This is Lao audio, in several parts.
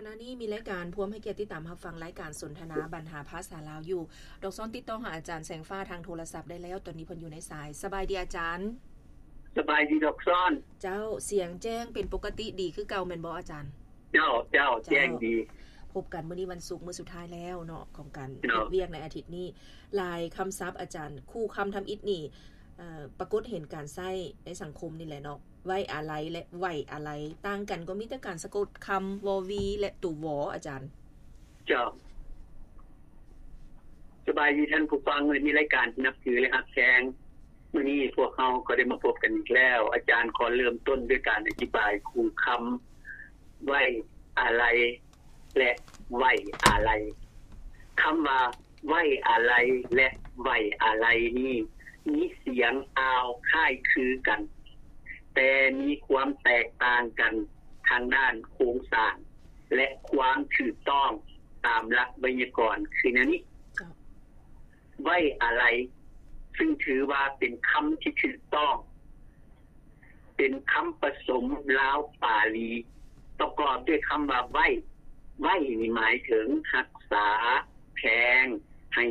ຂະນະນີ້ມີລາຍການພວມໃຫ້ກຽດຕິດຕາມຮັບຟັງລາຍການສົນທະນາບັນຫາພາສາລາວຢູ່. ດອກຊອນຕິດຕໍ່ຫາອາຈານແສງຟ້າທາງໂທລະສັບໄດ້ແລ້ວ, ຕອນນີ້ເພິ່ນຢູ່ໃນສາຍ. ສະບາຍດີອາຈານ. ສະບາຍດີດອກຊອນ. ເຈົ້າ, ສຽງແຈ້ງເປັນປົກກະຕິດີຄືເກົ່າແມ່ນບໍ່ອາຈານ? ເຈົ້າ, ເຈົ້າ, ເຈົ້າ, ແຈ້ງດີ. ພົບກັນມື້ນີ້ວັນສຸກ ມື້ສຸດທ້າຍແລ້ວເນາະ ຂອງການເຮັດວຽກໃນອາທິດນີ້. ຫຼາຍຄຳສັບອາຈານ, ຄູ່ຄຳທຳອິດນີ້ ເອີ ປາກົດເຫັນການໃຊ້ໃນສັງຄົມນີ້ແຫຼະເນາະ. ໄວ້ອາໄລ ແລະ ໄຫວ້ອາໄລ ຕ່າງກັນກໍມີແຕ່ການສະກົດຄຳ ວ ວີ ແລະ ຕົວ ວ ອາຈານ. ເຈົ້າ. ສະບາຍດີທ່ານຜູ້ຟັງ ແລະ ມີລາຍການທີ່ນັບຖື ແລະ ຮັກແພງ. ມື້ນີ້ພວກເຮົາກໍໄດ້ມາພົບກັນອີກແລ້ວ. ອາຈານຂໍເລີ່ມຕົ້ນດ້ວຍການອະທິບາຍຄູ່ຄຳ ໄວ້ອາໄລ ແລະ ໄຫວ້ອາໄລ. ຄຳວ່າ ໄວ້ອາໄລ ແລະ ໄຫວ້ອາໄລນີ້ ມີສຽງອາວຄ້າຍຄືກັນ, ແຕ່ມີຄວາມແຕກຕ່າງກັນທາງດ້ານໂຄງສ້າງ ແລະ ຄວາມຖືກຕ້ອງຕາມຫຼັກໄວຍາກອນຄືແນວນີ້. ເຈົ້າ. ໄວ້ອາໄລ ຊຶ່ງຖືວ່າເປັນຄຳທີ່ຖືກຕ້ອງ, ເປັນຄຳປະສົມລາວປາລີ ປະກອບດ້ວຍຄຳວ່າໄວ້. ໄວ້ນີ້ໝາຍເຖິງຮັກສາ, ແພງ, ໃຫ້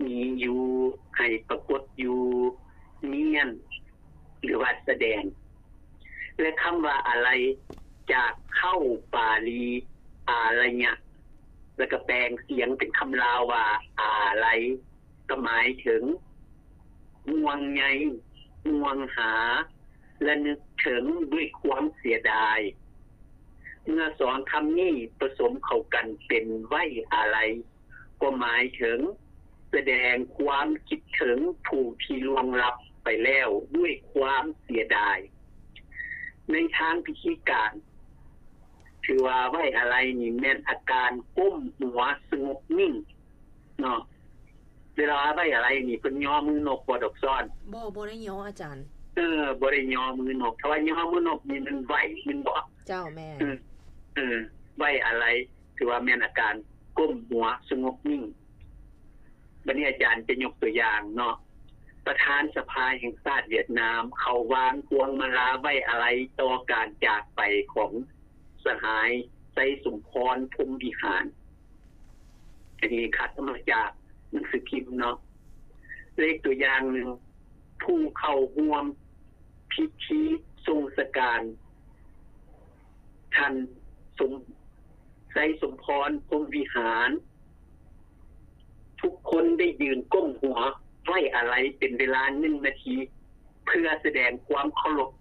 ມີຢູ່, ໃຫ້ປາກົດຢູ່, ນຽນ ຫຼືວ່າສະແດງ. ແລະ ຄຳວ່າອາໄລ ຈາກເຄົ້າປາລີ ອາລະຍະ ແລ້ວກໍແປງສຽງເປັນຄຳລາວວ່າອາໄລ ກໍໝາຍເຖິງຫ່ວງໃຍ, ຫ່ວງຫາ ລະນຶກເຖິງດ້ວຍຄວາມເສຍດາຍ. ເມື່ອສອງຄຳນີ້ປະສົມເຂົ້າກັນເປັນໄວ້ອາໄລ ກໍໝາຍເຖິງສະແດງຄວາມຄິດເຖິງຜູ້ທີ່ລ່ວງລັບໄປແລ້ວດ້ວຍຄວາມເສຍດາຍ. ໃນທາງພິທີການ ຖືວ່າໄວ້ອາໄລນີ້ແມ່ນອາການກົ້ມຫົວສະຫງົບນິ່ງເນາະ. ເວລາໄວ້ອາໄລນີ້ເພິ່ນຍໍມືນົບບໍ່ດອກຊອນ? ບໍ່, ບໍ່ໄດ້ຍໍອາຈານ. ເອີ, ບໍ່ໄດ້ຍໍມືນົບ. ຖ້າວ່າຍໍມືນົບນີ້ແມ່ນໄຫວ້ແມ່ນບໍ່? ເຈົ້າ, ແມ່ນ. ເອີ, ເອີ, ໄວ້ອາໄລ ຖືວ່າແມ່ນອາການກົ້ມຫົວສະຫງົບນິ່ງ. ບັດນີ້ອາຈານຈະຍົກຕົວຢ່າງເນາະ, ປະທານສະພາແຫ່ງຊາດຫວຽດນາມ ເຂົາວາງພວງມາລາໄວ້ອາໄລຕໍ່ການຈາກໄປຂອງສະຫາຍ ໄຊສົມພອນ ພົມວິຫານ. ອັນນີ້ຄັດເອົາມາຈາກໜັງສືພິມເນາະ. ເລກຕົວຢ່າງໜຶ່ງ, ຜູ້ເຂົ້າຮ່ວມພິທີສົ່ງສະການ ທ່ານສົມ ໄຊສົມພອນ ພົມວິຫານ ທຸກຄົນໄດ້ຢືນກົ້ມຫົວໄວ້ອາໄລເປັນເວລາໜຶ່ງນາທີ ເພື່ອສະແດງຄວາມເຄົາລົບ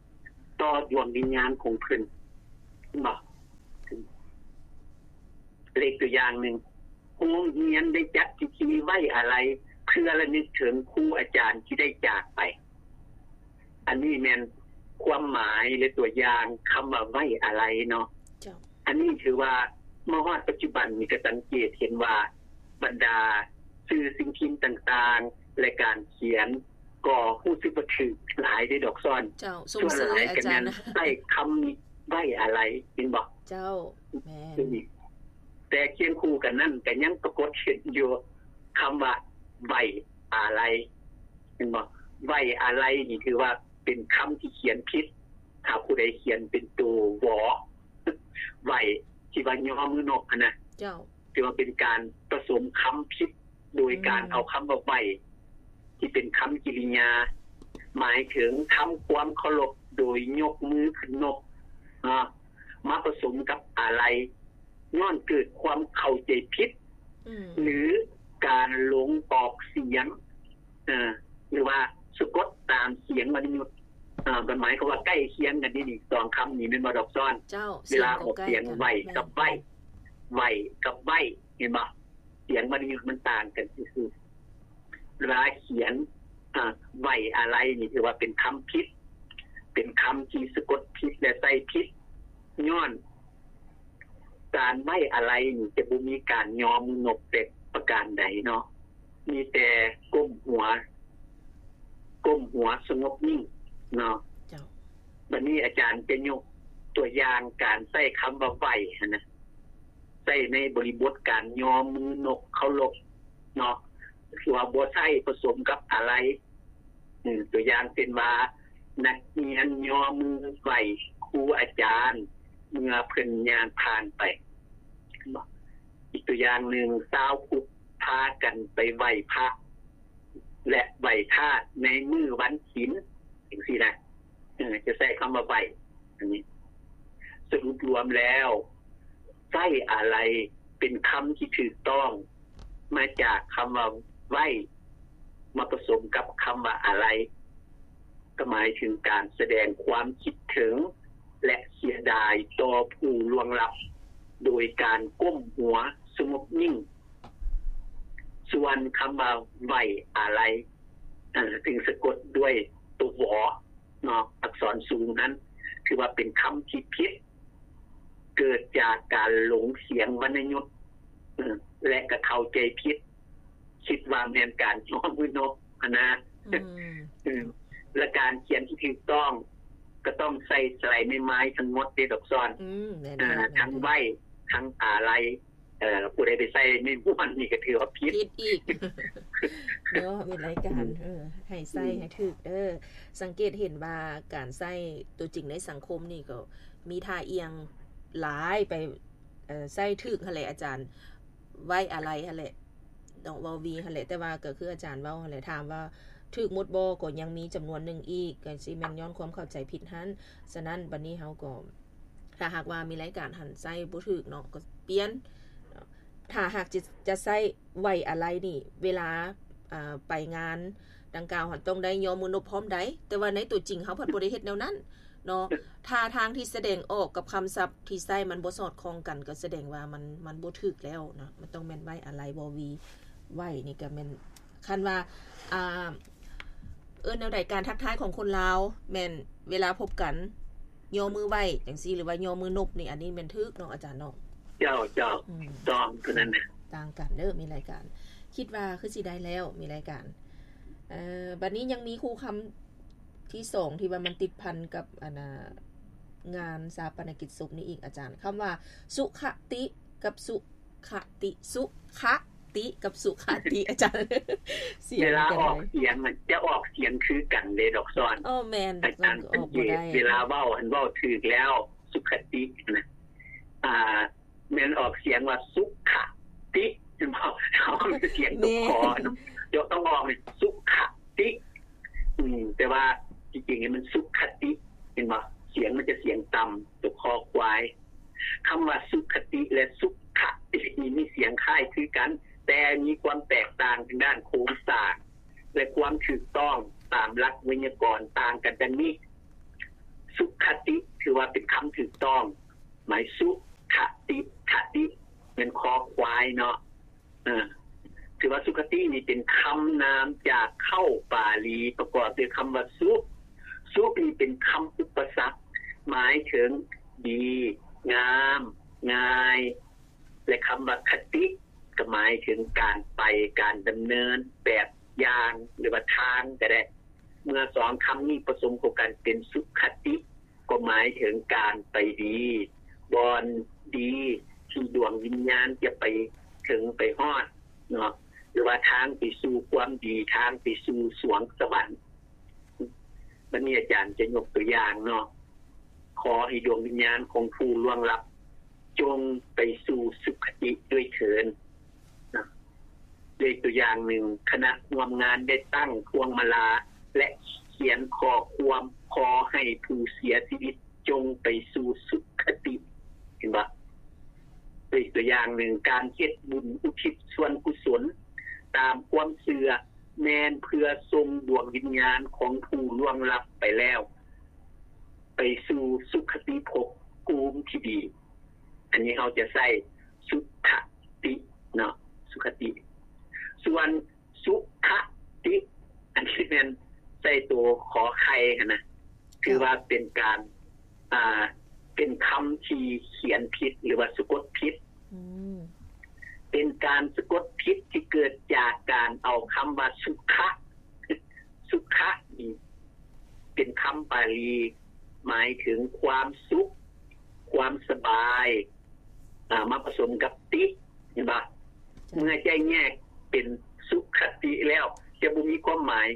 ຕໍ່ດວງວິນຍານຂອງເພິ່ນ. ເຫັນບໍ່? ເລກຕົວຢ່າງໜຶ່ງ, ໂຮງຮຽນໄດ້ຈັດພິທີໄວ້ອາໄລ ເພື່ອລະນຶກເຖິງຄູອາຈານທີ່ໄດ້ຈາກໄປ. ອັນນີ້ແມ່ນຄວາມໝາຍ ແລະ ຕົວຢ່າງຄຳວ່າໄວ້ອາໄລເນາະ. ເຈົ້າ. ອັນນີ້ຖືວ່າມາຮອດປັດຈຸບັນນີ້ກໍສັງເກດເຫັນວ່າ ບັນດາສື່ສິ່ງພິມຕ່າງໆ ແລະ ການຂຽນ ກໍຮູ້ສຶກວ່າຖືກຫຼາຍເດ້ດອກຊອນ. ເຈົ້າ, ຊົມເຊີຍອາຈານ. ສ່ວນຫຼາຍກໍແມ່ນໃຊ້ຄຳນີ້ໄວ້ອາໄລ, ເຫັນບໍ່? ເຈົ້າ, ແມ່ນ. ແຕ່ຄຽງຄູ່ກັນນັ້ນກໍຍັງປາກົດເຫັນຢູ່ຄຳວ່າໄວ້ອາໄລ, ເຫັນບໍ່? ໄວ້ອາໄລນີ້ຖືວ່າເປັນຄຳທີ່ຂຽນຜິດ, ຖ້າຜູ້ໃດຂຽນເປັນໂຕ ວ ໄວ້ ທີ່ວ່າຍໍມືນົບຫັ້ນນະ. ເຈົ້າ. ຖືວ່າເປັນການປະສົມຄຳຜິດ ໂດຍການເອົາຄຳວ່າໄຫວ້ ທີ່ເປັນຄຳກິລິຍາ ໝາຍເຖິງທຳຄວາມເຄົາລົບໂດຍຍົກມືຂຶ້ນນົບ ເນາະ ມາປະສົມກັບອາໄລ ຍ້ອນເກີດຄວາມເຂົ້າໃຈຜິດ ຫຼື ການຫຼົງອອກສຽງ ເອີ ຫຼືວ່າສະກົດຕາມສຽງວັນຍຸດ ເອີ ມັນໝາຍຄວາມວ່າໃກ້ຄຽງກັນນີ້ ສອງຄຳນີ້ແມ່ນບໍ່ດອກຊອນ? ເຈົ້າ, ເວລາອອກສຽງໄຫວ້ກັບໄຫວ້ ໄຫວ້ກັບໄຫວ້ ເຫັນບໍ່? ສຽງມັນຢູ່ ມັນຕ່າງກັນຊື່ໆ. ເວລາຂຽນ ອາ ໄວ້ອາໄລນີ້ ຖືວ່າເປັນຄຳຜິດ ເປັນຄຳທີ່ສະກົດຜິດ ແລະ ໃຊ້ຜິດ ຍ້ອນການໄວ້ອາໄລນີ້ ຈະບໍ່ມີການຍໍມືນົບແຕ່ປະການໃດເນາະ, ມີແຕ່ກົ້ມຫົວ ກົ້ມຫົວສະຫງົບນິ່ງເນາະ. ເຈົ້າ. ບັດນີ້ອາຈານຈະຍົກຕົວຢ່າງການໃຊ້ຄຳວ່າໄຫວ້ຫັ້ນນະ ໃຊ້ໃນບໍລິບົດການຍໍມືນົບເຄົາລົບເນາະ ຫຼືວ່າບໍ່ໃຊ້ປະສົມກັບອາໄລ. ຕົວຢ່າງເຊັ່ນວ່າ ນັກຮຽນຍໍມືໄຫວ້ຄູອາຈານເມື່ອເພິ່ນຍ່າງຜ່ານໄປ. ບໍ່? ອີກຕົວຢ່າງໜຶ່ງ ຊາວພຸດພາກັນໄປໄຫວ້ພະ ແລະ ໄຫວ້ທາດໃນມື້ວັນສິນ ຈັ່ງຊີ້ນະ ເອີ ຈະໃຊ້ຄຳວ່າໄຫວ້ ອັນນີ້ ສະຫຼຸບລວມແລ້ວ ໄວ້ອາໄລເປັນຄຳທີ່ຖືກຕ້ອງ ມາຈາກຄຳວ່າໄວ້ ມາປະສົມກັບຄຳວ່າອາໄລ ກໍໝາຍເຖິງການສະແດງຄວາມຄິດເຖິງ ແລະ ເສຍດາຍຕໍ່ຜູ້ລ່ວງລັບ ໂດຍການກົ້ມຫົວສະຫງົບນິ່ງ. ສ່ວນຄຳວ່າໄວ້ອາໄລ ເອີ ຊຶ່ງສະກົດດ້ວຍຕົວ ວ ເນາະ ອັກສອນສູງນັ້ນ ຖືວ່າເປັນຄຳທີ່ຜິດ ເກີດຈາກການຫຼົງສຽງວັນນະຍຸດ ເອີ ແລະ ກໍເຂົ້າໃຈຜິດ ຄິດວ່າແມ່ນການຍໍມືນົບຫັ້ນນະ. ອືມ ເອີ ແລະ ການຂຽນທີ່ຖືກຕ້ອງ ກໍຕ້ອງໃຊ້ສະໄລໄມ້ມາຍທັງໝົດເດ້ ດອກຊອນ. ອືມ ແມ່ນ ເອີ ທັງໄວ້ ທັງອາໄລ. ເອີ ຜູ້ໃດໄປໃຊ້ໄມ້ມ້ວນນີ້ກໍຖືວ່າຜິດ ຜິດອີກເນາະ. ມີລາຍການ ອືມ ເອີ ໃຫ້ໃຊ້ ອືມ ໃຫ້ຖືກເດີ. ສັງເກດເຫັນວ່າການໃຊ້ຕົວຈິງໃນສັງຄົມນີ້ກໍມີທ່າອຽງຫຼາຍໄປ ເອີ ໃຊ້ຖືກຫັ້ນແຫຼະອາຈານ ໄວ້ອາໄລຫັ້ນແຫຼະ ເນາະ ວ ວີ ຫັ້ນແຫຼະ. ແຕ່ວ່າກໍຄືອາຈານເວົ້າຫັ້ນແຫຼະ ຖາມວ່າຖືກໝົດບໍ່ ກໍຍັງມີຈຳນວນໜຶ່ງອີກ ກໍຊິແມ່ນຍ້ອນຄວາມເຂົ້າໃຈຜິດຫັ້ນ. ສະນັ້ນ ບັດນີ້ເຮົາກໍ ຖ້າຫາກວ່າມີລາຍການຫັ້ນໃຊ້ບໍ່ຖືກເນາະ ກໍປ່ຽນ. ຖ້າຫາກຈະ ຈະໃຊ້ໄວ້ອາໄລນີ້ ເວລາ ອ່າ ໄປງານດັ່ງກ່າວຫັ້ນ ຕ້ອງໄດ້ຍໍມືນົບພ້ອມໃດ ແຕ່ວ່າໃນຕົວຈິງເຮົາພັດບໍ່ໄດ້ເຮັດແນວນັ້ນເນາະ. ທ່າທາງທີ່ສະແດງອອກກັບຄຳສັບທີ່ໃຊ້ມັນບໍ່ສອດຄ່ອງກັນ ກໍສະແດງວ່າມັນ ມັນບໍ່ຖືກແລ້ວເນາະ. ມັນຕ້ອງແມ່ນໄວ້ອາໄລ ວ ວີ ໄວ້ນີ້ກໍແມ່ນ ຄັນວ່າ ອ່າ ເອີ້ນແນວໃດ ການທັກທາຍຂອງຄົນລາວ ແມ່ນເວລາພົບກັນຍໍມືໄຫວ້ຈັ່ງຊີ້ ຫຼືວ່າຍໍມືນົບນີ້ ອັນນີ້ແມ່ນຖືກເນາະອາຈານເນາະ? ເຈົ້າ ເຈົ້າ ອືມ ຕ້ອງ ຕົວນັ້ນນະ ຕ່າງກັນເດີ. ມີລາຍການ ຄິດວ່າຄືຊິໄດ້ແລ້ວ ມີລາຍການ. ເອີ ບັດນີ້ຍັງມີຄູ່ຄຳທີສອງ ທີ່ວ່າມັນຕິດພັນກັບ ອັນນ່າ ງານຊາປະນະກິດສົບນີ້ອີກອາຈານ ຄຳວ່າສຸຂະຕິກັບສຸ ຄະຕິ ສຸຂະຕິກັບສຸຂະຕິ ອາຈານ ສຽງ ເວລາອອກສຽງມັນຈະອອກສຽງຄືກັນເດ້ ດອກຊອນ. ອໍ ແມ່ນ ອາຈານສັງເກດ ເວລາເວົ້າຫັ້ນເວົ້າຖືກແລ້ວ ສຸຂະຕິນະ ອ່າ ແມ່ນອອກສຽງວ່າສຸຂະຕິ ເຫັນບໍ່? ເຮົາສຽງຕົວ ແມ່ນ ຂໍເນາະ ເຈົ້າຕ້ອງອອກເປັນສຸຂະຕິ. ອືມ ແຕ່ວ່າທີ່ຈິງນີ້ມັນສຸຂະຕິ ເຫັນບໍ່? ສຽງມັນຈະສຽງຕ່ຳ ຕົວ ຄ ຄວາຍ. ຄຳວ່າສຸຂະຕິ ແລະ ສຸຂະຕິ ນີ້ມີສຽງຄ້າຍຄືກັນ ແຕ່ມີຄວາມແຕກຕ່າງທາງດ້ານໂຄງສ້າງ ແລະ ຄວາມຖືກຕ້ອງຕາມຫຼັກໄວຍາກອນຕ່າງກັນດັ່ງນີ້. ສຸຂະຕິ ຖືວ່າເປັນຄຳຖືກຕ້ອງ ໝາຍ ສຸຂະຕິ ຂະຕິ ແມ່ນ ຄ ຄວາຍ ເນາະ. ເອີ ຖືວ່າສຸຂະຕິນີ້ເປັນຄຳນາມຈາກເຄົ້າປາລີ ປະກອບດ້ວຍຄຳວ່າສຸ ສຸນີ້ເປັນຄຳອຸປະສັກ ໝາຍເຖິງດີ, ງາມ, ງ່າຍ ແລະ ຄຳວ່າຄະຕິ ກໍໝາຍເຖິງການໄປ, ການດຳເນີນແບບຢ່າງ ຫຼືວ່າທາງກໍໄດ້. ເມື່ອສອງຄຳນີ້ປະສົມເຂົ້າກັນເປັນສຸຂະຕິ ກໍໝາຍເຖິງການໄປດີ, ບ່ອນດີທີ່ດວງວິນຍານຈະໄປເຖິງໄປຮອດເນາະ ຫຼືວ່າທາງໄປສູ່ຄວາມດີ, ທາງໄປສູ່ສວງສະຫວັນ. ບັດນີ້ອາຈານຈະຍົກຕົວຢ່າງເນາະ, ຂໍໃຫ້ດວງວິນຍານຂອງຜູ້ລ່ວງລັບ ຈົ່ງໄປສູ່ສຸຄະຕິດ້ວຍເທີ້ນ. ນະ ໂດຍຕົວຢ່າງໜຶ່ງ, ຄະນະຮ່ວມງານໄດ້ຕັ້ງພວງມາລາ ແລະ ຂຽນຂໍ້ຄວາມຂໍໃຫ້ຜູ້ເສຍຊີວິດຈົ່ງໄປສູ່ສຸຄະຕິ. ເຫັນບໍ່? ໂດຍຕົວຢ່າງໜຶ່ງ, ການເຮັດບຸນອຸທິດສ່ວນກຸສົນຕາມຄວາມເຊື່ອ ແມ່ນເພື່ອສົ່ງດວງວິນຍານຂອງຜູ້ລ່ວງລັບໄປແລ້ວ ໄປສູ່ສຸຄະຕິພົບພູມທີ່ດີ. ອັນນີ້ເຮົາຈະໃຊ້ສຸຄະຕິເນາະ, ສຸຄະຕິ. ສ່ວນສຸຂະຕິ ອັນນີ້ແມ່ນໃສ່ໂຕຂໍໄຂ່ຫັ້ນນະ, ຖືວ່າເປັນການ ອ່າ ເປັນຄຳທີ່ຂຽນຜິດ ຫຼືວ່າສະກົດຜິດ. ອືມ ເປັນການສະກົດຜິດທີ່ເກີດຈາກການເອົາຄຳວ່າສຸຂະ ສຸຂະນີ້ເປັນຄຳປາລີ ໝາຍເຖິງຄວາມສຸກ ຄວາມສະບາຍ ອ່າ ມາປະສົມກັບຕິ ເຫັນບໍ່? ເມື່ອຈະແຍກເປັນສຸຄະຕິແລ້ວ ຈະບໍ່ມີຄວາມໝາຍ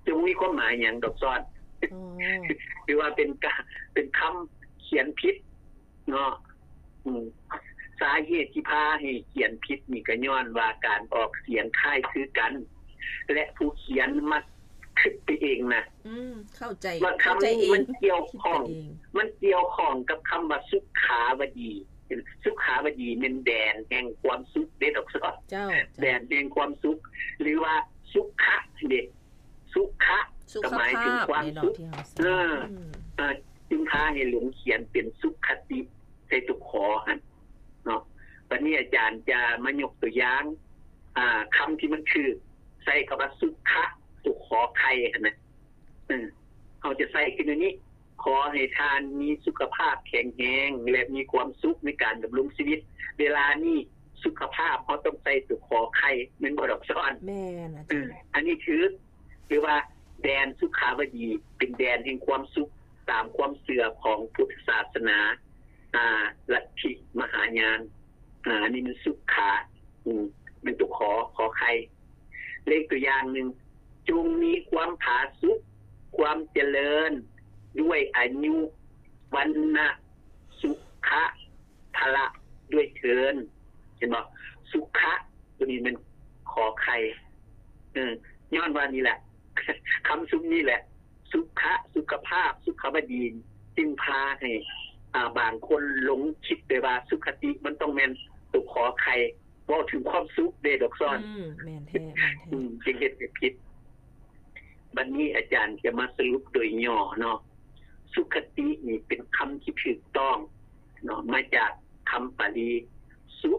ຈະບໍ່ມີຄວາມໝາຍຫຍັງດອກຊອນ. ອໍ ຖືວ່າເປັນການ ເປັນຄຳຂຽນຜິດເນາະ. ອືມ ສ ສາເຫດທີ່ພາໃຫ້ຂຽນຜິດນີ້ກໍຍ້ອນວ່າການອອກສຽງຄ້າຍຄືກັນ ແລະ ຜູ້ຂຽນມັກຄິດໄປເອງນະ ອືມ ເຂົ້າໃຈ ວ່າຄຳ ເຂົ້າໃຈເອງ ມັນກ່ຽວຂ້ອງ ຄິດໄປເອງ ມັນກ່ຽວຂ້ອງກັບຄຳວ່າສຸຂາວະດີ ສຸຂາວະດີແມ່ນແດນແຫ່ງຄວາມສຸກເດ້ດອກຊອນ ເຈົ້າ ເຈົ້າ ແດນແຫ່ງຄວາມສຸກ ຫຼືວ່າສຸຂະເດ້ ສຸຂະ ສຸຂະພາບ ກໍໝາຍເຖິງຄວາມສຸກ ເອີ ອືມ ເອີ ຈຶ່ງພາໃຫ້ຫຼົງຂຽນເປັນສຸຂະຕິໃສ່ຕົວ ຂ ຫັ້ນເນາະ. ບັດນີ້ອາຈານຈະມາຍົກຕົວຢ່າງ ອ່າ ຄຳທີ່ມັນຖືກ ໃສ່ຄຳວ່າສຸຂະ ຕົວ ຂ ໄຂ່ ຫັ້ນນະ ເອີ ເຮົາຈະໃສ່ຄືແນວນີ້ ຂໍໃຫ້ທ່ານມີສຸຂະພາບແຂງແຮງ ແລະ ມີຄວາມສຸກໃນການດຳລົງຊີວິດ. ເວລານີ້ສຸຂະພາບເຮົາຕ້ອງໃສ່ຕົວ ຂ ໄຂ່ ແມ່ນບໍ່ດອກຊອນ? ແມ່ນ ອາຈານ ເອີ ອັນນີ້ຖືກ ຫຼືວ່າແດນສຸຂາວະດີ ເປັນແດນແຫ່ງຄວາມສຸກ ຕາມຄວາມເຊື່ອຂອງພຸດທະສາສະໜາ ອ່າ ລັດທິມະຫາຍານ ອ່າ ອັນນີ້ມັນສຸຂະ ອືມ ເປັນຕົວ ຂ ຂ ໄຂ່. ເລກຕົວຢ່າງໜຶ່ງ ຈົ່ງມີຄວາມຜາສຸກ ຄວາມຈະເລີນ ດ້ວຍອາຍຸ ວັນນະ ສຸຂະ ພະລະ ດ້ວຍເທີ້ນ. ເຫັນບໍ່? ສຸຂະ ຕົວນີ້ແມ່ນ ຂ ໄຂ່ ເອີ ຍ້ອນວ່ານີ້ແຫຼະ ຄຳຊຸມນີ້ແຫຼະ ສຸຂະ ສຸຂະພາບ ສຸຂາວະດີ ຈຶ່ງພາໃຫ້ ອ່າ ບາງຄົນຫຼົງຄິດໄປວ່າສຸຂະຕິມັນຕ້ອງແມ່ນຕົວ ຂ ໄຂ່ ເວົ້າເຖິງຄວາມສຸກເດ້ດອກຊອນ. ອືມ ແມ່ນແທ້ ແມ່ນແທ້ ອືມ ຈຶ່ງເຮັດໃຫ້ຜິດ. ບັດນີ້ອາຈານຈະມາສະຫຼຸບໂດຍຫຍໍ້ເນາະ ສຸຂະຕິນີ້ເປັນຄຳທີ່ຖືກຕ້ອງເນາະ ມາຈາກຄຳປາລີ ສຸ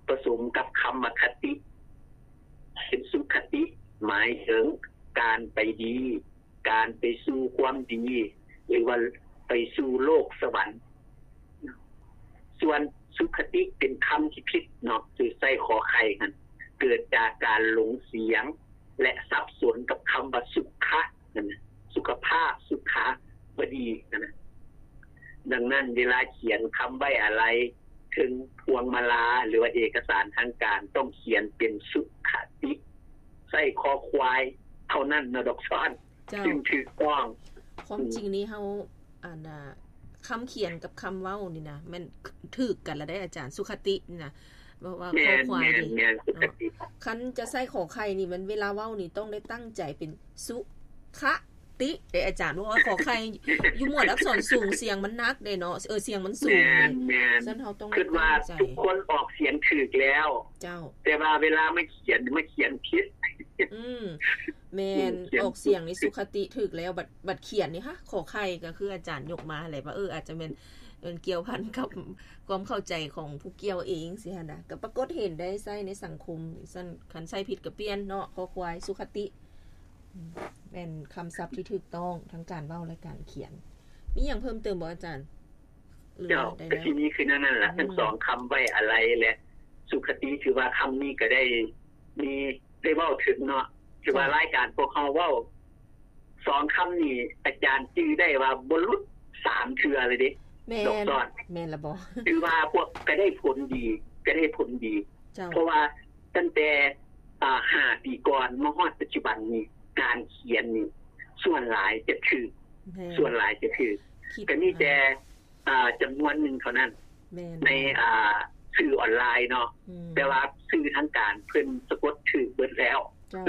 ປະສົມກັບຄຳວ່າຄະຕິ ເປັນສຸຂະຕິ ໝາຍເຖິງການໄປດີ ການໄປສູ່ຄວາມດີ ຫຼືວ່າໄປສູ່ໂລກສະຫວັນ. ສ່ວນສຸຂະຕິເປັນຄຳທີ່ຜິດເນາະ ຄືໃສ່ ຂ ໄຂ່ ຫັ້ນ ເກີດຈາກການຫຼົງສຽງ ແລະ ສັບສົນກັບຄຳວ່າສຸຂະ ຫັ້ນນະ ສຸຂະພາບ ສຸຂາວະດີຫັ້ນນະ. ດັ່ງນັ້ນ ເວລາຂຽນຄຳໄວ້ອາໄລເທິງພວງມາລາ ຫຼືວ່າເອກະສານທາງການ ຕ້ອງຂຽນເປັນສຸຂະຕິ ໃສ່ຄໍຄວາຍເທົ່ານັ້ນເນາະ ດອກຊອນ. ເຈົ້າ ຈຶ່ງຖືກຕ້ອງ. ຄວາມຈິງນີ້ເຮົາ ອັນນ່າ ຄຳຂຽນກັບຄຳເວົ້ານີ້ນະ ແມ່ນຖືກກັນລະໄດ໋ອາຈານ ສຸຂະຕິນີ້ນະ ເວົ້າ ເວົ້າ ແມ່ນ ຄໍຄວາຍເດ ແມ່ນ ສຸຂະຕິ ເນາະ. ຄັນຈະໃສ່ຂໍໄຂ່ນີ້ ແມ່ນເວລາເວົ້ານີ້ຕ້ອງໄດ້ຕັ້ງໃຈເປັນສຸຂະຕິເດ ອາຈານ ເພາະວ່າຂໍໄຂ່ຢູ່ໝວດອັກສອນສູງ ສຽງມັນໜັກເດເນາະ ເອີ ສຽງມັນສູງເດ. ແມ່ນ ແມ່ນ ຊັ້ນເຮົາຕ້ອງ ຄິດວ່າ ຕັ້ງໃຈ ທຸກຄົນອອກສຽງຖືກແລ້ວ ເຈົ້າ ແຕ່ວ່າເວລາມາຂຽນ ມາຂຽນຜິດ. ອືມ ແມ່ນ ອອກສຽງນີ້ສຸຂະຕິຖືກແລ້ວ ບັດ ບັດຂຽນນີ້ ຮະ ຂໍໄຂ່ ກໍຄືອາຈານຍົກມາຫັ້ນແຫຼະ ວ່າ ເອີ ອາດຈະແມ່ນ ແມ່ນກ່ຽວພັນກັບຄວາມເຂົ້າໃຈຂອງຜູ້ກ່ຽວເອງຊີ້ຫັ້ນນະ ກໍປາກົດເຫັນໄດ້ໃຊ້ໃນສັງຄົມ. ຊັ້ນຄັນໃຊ້ຜິດກໍປ່ຽນເນາະ ຄໍຄວາຍ ສຸຂະຕິ ອືມ ແມ່ນຄຳສັບທີ່ຖືກຕ້ອງທັງການເວົ້າ ແລະ ການຂຽນ. ມີຫຍັງເພີ່ມເຕີມບໍ່ອາຈານ? ເຈົ້າ ກໍຊິມີຄືແນວນັ້ນລະ ອືມ ທັງສອງຄຳໄວ້ອາໄລ ແລະ ສຸຂະຕິ ຖືວ່າຄຳນີ້ກໍໄດ້ມີ ໄດ້ເວົ້າເຖິງເນາະ ຖືວ່າ ເຈົ້າ ລາຍການພວກເຮົາເວົ້າສອງຄຳນີ້ ອາຈານຈື່ໄດ້ວ່າບໍ່ຫຼຸດສາມເທື່ອເລີຍເດ້. ແມ່ນ ດອກຊອນ ແມ່ນລະບໍ? ຖືວ່າພວກກໍໄດ້ຜົນດີ ກໍໄດ້ຜົນດີ ເຈົ້າ ເພາະວ່າຕັ້ງແຕ່ ອ່າ ຫ້າປີກ່ອນມາຮອດປັດຈຸບັນນີ້ ການຂຽນນີ້ສ່ວນຫຼາຍຈະຖືກ ແມ່ນ ສ່ວນຫຼາຍຈະຖືກ ກໍມີແຕ່ ອ່າ ຈຳນວນໜຶ່ງເທົ່ານັ້ນ ແມ່ນ ໃນ ອ່າ ສື່ອອນລາຍເນາະ ອືມ ແຕ່ວ່າສື່ທາງການເພິ່ນສະກົດຖືກເບິດແລ້ວ. ເຈົ້າ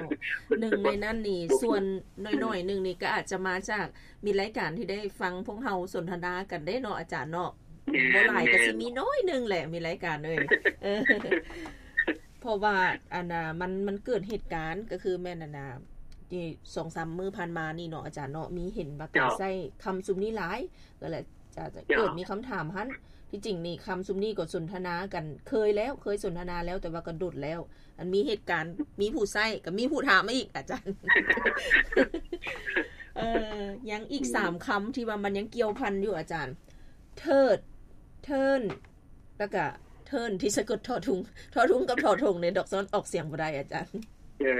ໜຶ່ງໃນນັ້ນນີ້ ສ່ວນໜ້ອຍໆໜຶ່ງນີ້ ກໍອາດຈະມາຈາກມິດລາຍການທີ່ໄດ້ຟັງພວກເຮົາສົນທະນາກັນເດ້ເນາະ ອາຈານເນາະ. ແມ່ນ ບໍ່ຫຼາຍ ແມ່ນ ກໍຊິມີໜ້ອຍໜຶ່ງແຫຼະ ມິດລາຍການເອີຍ ເອີ ເພາະວ່າ ອັນນ່າ ມັນ ມັນເກີດເຫດການ ກໍຄືແມ່ນ ອັນນ່າ ສອງສາມມື້ຜ່ານມານີ້ເນາະ ອາຈານເນາະ ມີເຫັນວ່າການ ເຈົ້າ ໃຊ້ຄຳຊຸມນີ້ຫຼາຍ ກໍເລີຍ ຈະ ຈະ ເຈົ້າ ເກີດມີຄຳຖາມຫັ້ນ. ທີ່ຈິງນີ້ຄຳຊຸມນີ້ກໍສົນທະນາກັນເຄີຍແລ້ວ ເຄີຍສົນທະນາແລ້ວ ແຕ່ວ່າກໍດົນແລ້ວ ອັນມີເຫດການ ມີຜູ້ໃຊ້ ກໍມີຜູ້ຖາມມາອີກ ອາຈານ. ເອີ ຍັງອີກ ອືມ ສາມຄຳທີ່ວ່າມັນຍັງກ່ຽວພັນຢູ່ ອາຈານ ເທີດ ເທີນ ແລ້ວກະເທີນທີ່ສະກົດທໍທຸງ ທໍທຸງກັບທໍທົງນີ້ ດອກຊອນອອກສຽງບໍ່ໄດ້ ອາຈານ. ເອີ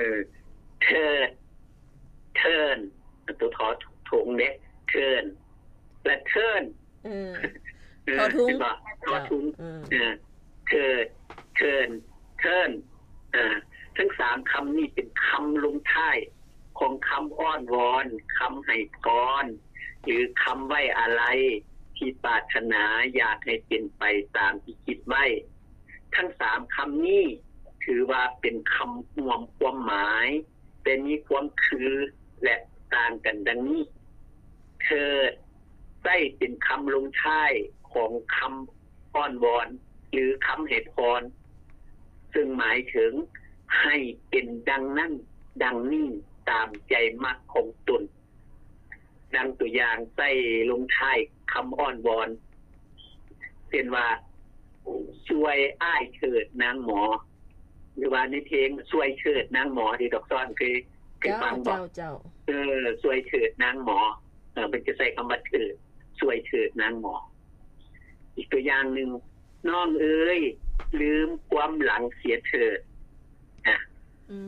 ເທີດ ເທີນ ຕົວ ທ ທົງເດ້ ເທີນ ແລະ ເທີນ ເອີ ເອີ ທໍທຸງ ເຫັນບໍ່? ທໍທຸງ ເອີ ເອີ ເທີດ ເທີນ ເທີນ ເອີ ທັງສາມຄຳນີ້ເປັນຄຳລົງທ້າຍຂອງຄຳອ້ອນວອນ, ຄຳໃຫ້ພອນ ຫຼື ຄຳໄວ້ອາໄລ ທີ່ ທີ່ປາດຖະໜາຢາກໃຫ້ເປັນໄປຕາມທີ່ຄິດໄວ້. ທັງສາມຄຳນີ້ຖືວ່າເປັນຄຳຮ່ວມຄວາມໝາຍ, ແຕ່ມີຄວາມຄື ແລະ ຕ່າງກັນດັ່ງນີ້. ເທີດ ໃຊ້ເປັນຄຳລົງທ້າຍຂອງຄຳອ້ອນວອນ ຫຼື ຄຳໃຫ້ພອນ, ເຊິ່ງໝາຍເຖິງໃຫ້ເປັນດັ່ງນັ້ນ, ດັ່ງນີ້, ຕາມໃຈມັກຂອງຕົນ. ດັ່ງຕົວຢ່າງໃຊ້ລົງທ້າຍຄຳອ້ອນວອນ ເຊັ່ນວ່າ ຊ່ວຍອ້າຍເທີດນາງໝໍ ຫຼືວ່າໃນເພງ ຊ່ວຍເທີດນາງໝໍ ທີ່ດອກຊອນເຄີຍ ເຄີຍຟັງບໍ່? ເອີ ຊ່ວຍເທີດນາງໝໍ. ເອີ ເພິ່ນຈະໃຊ້ຄຳວ່າເທີດ ຊ່ວຍເທີດນາງໝໍ. ອີກຕົວຢ່າງໜຶ່ງ ນ້ອງເອີຍ ລືມຄວາມຫຼັງເສຍເທີດ. ອາ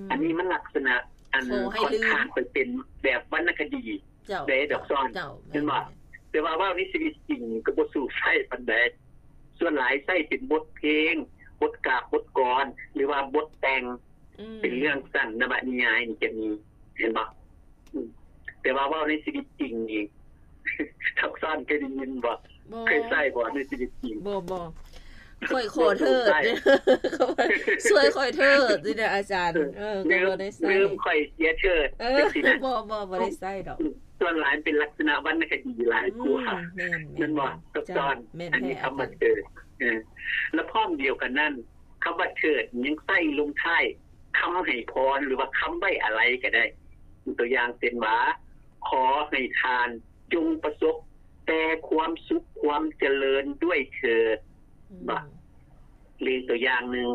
ອັນນີ້ມັນລັກສະນະອັນຂ້ອນຂ້າງໄປເປັນແບບວັນນະຄະດີເດ້ດອກຊອນ ແມ່ນບໍ່? ແຕ່ວ່າເວົ້າໃນຊີວິດຈິງກໍບໍ່ສູ້ໃຊ້ປານໃດ. ສ່ວນຫຼາຍໃຊ້ເປັນບົດເພງ, ບົດກາບ, ບົດກອນ ຫຼືວ່າບົດແຕ່ງ ເປັນເລື່ອງສັ້ນ ນະວະນິຍາຍນີ້ຈະມີ ເຫັນບໍ່? ອືມ ແຕ່ວ່າເວົ້າໃນຊີວິດຈິງນີ້ ດອກຊອນເຄີຍໄດ້ຍິນບໍ່? ເຄີຍໃຊ້ບໍ່ໃນຊີວິດຈິງ? ບໍ່ ບໍ່. ຂ້ອຍຂໍເທີດ ຊ່ວຍຂ້ອຍເທີດ ຊິໄດ້ອາຈານ. ເອີ ກໍບໍ່ໄດ້ໃຊ້. ລືມຂ້ອຍເສຍເທີດ ເອີ ຈັ່ງຊີ້ນະ. ບໍ່ ບໍ່ ບໍ່ໄດ້ໃຊ້ດອກ. ອືມ ສ່ວນຫຼາຍເປັນລັກສະນະວັນນະຄະດີຫຼາຍກວ່າ ອືມ ແມ່ນ ແມ່ນບໍ່? ດອກຊອນ ແມ່ນ ອັນນີ້ຄຳວ່າເທີດ. ເອີ ແລະ ພ້ອມດຽວກັນນັ້ນ ຄຳວ່າເທີດຍັງໃຊ້ລົງທ້າຍຄຳໃຫ້ພອນ ຫຼືວ່າຄຳໄວ້ອາໄລກໍໄດ້. ຕົວຢ່າງເຊັ່ນວ່າ ຂໍໃຫ້ທ່ານຈົ່ງປະສົບແຕ່ຄວາມສຸກຄວາມຈະເລີນດ້ວຍເທີດ. ອືມ ບໍ່ ຫຼືຕົວຢ່າງໜຶ່ງ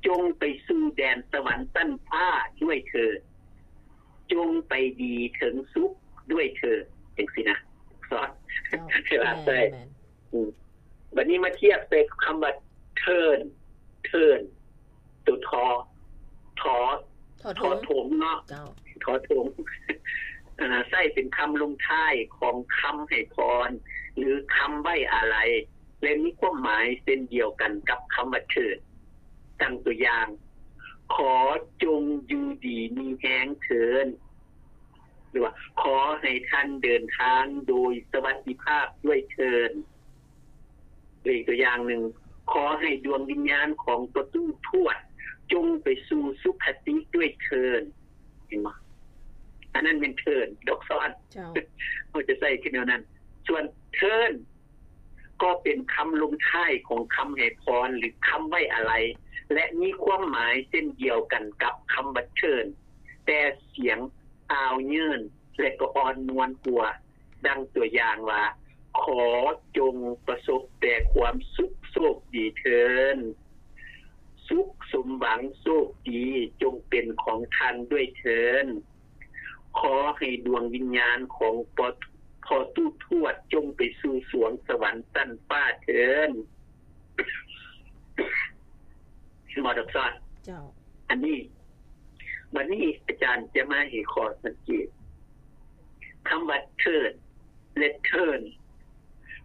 ຈົ່ງໄປສູ່ແດນສະຫວັນຊັ້ນຟ້າດ້ວຍເທີດ, ຈົ່ງໄປດີເຖິງສຸກດ້ວຍເທີດ ຈັ່ງຊີ້ນະ. ສອນ ເຈົ້າ ເວລາໃຊ້ ແມ່ນ ອືມ ບັດນີ້ມາທຽບໃສ່ຄຳວ່າເທີນ ເທີນ ຕົວ ທ ທ ທໍ ຖົງເນາະ ເຈົ້າ ທໍຖົງ ເອີ ໃຊ້ເປັນຄຳລົງທ້າຍຂອງຄຳໃຫ້ພອນ ຫຼື ຄຳໄວ້ອາໄລ ແລະ ມີຄວາມໝາຍເຊັ່ນດຽວກັນກັບຄຳວ່າເທີນ. ດັ່ງຕົວຢ່າງ ຂໍຈົ່ງຢູ່ດີມີແຮງເທີນ ຫຼືວ່າ ຂໍໃຫ້ທ່ານເດີນທາງໂດຍສະຫວັດດີພາບດ້ວຍເທີນ. ຫຼືອີກຕົວຢ່າງໜຶ່ງ ຂໍໃຫ້ດວງວິນຍານຂອງພໍ່ຕູ້ທວດຈົ່ງໄປສູ່ສຸຄະຕິດ້ວຍເທີນ. ເຫັນບໍ່? ອັນນັ້ນແມ່ນເທີນ ດອກຊອນ ເຈົ້າ ເຮົາຈະໃຊ້ຄືແນວນັ້ນ. ສ່ວນເທີນ ກໍເປັນຄຳລົງທ້າຍຂອງຄຳໃຫ້ພອນ ຫຼື ຄຳໄວ້ອາໄລ ແລະ ມີຄວາມໝາຍເຊັ່ນດຽວກັນກັບຄຳວ່າເທີນ ແຕ່ສຽງອ່າວເຍີ້ນ ແລະ ກໍອ່ອນນວນກວ່າ. ດັ່ງຕົວຢ່າງວ່າ ຂໍຈົ່ງປະສົບແຕ່ຄວາມສຸກໂຊກດີເທີນ, ສຸກສົມຫວັງໂຊກດີຈົ່ງເປັນຂອງທ່ານດ້ວຍເທີນ, ຂໍໃຫ້ດວງວິນຍານຂອງພໍ່ຕູ້ທວດຈົ່ງໄປສູ່ສວງສະຫວັນຊັ້ນຟ້າເທີນ. ເຫັນບໍ່ດອກຊອນ? ເຈົ້າ. ອັນນີ້ ບັດນີ້ອາຈານຈະມາໃຫ້ຂໍ້ສັງເກດ ຄຳວ່າເທີນ ແລະ ເທີນ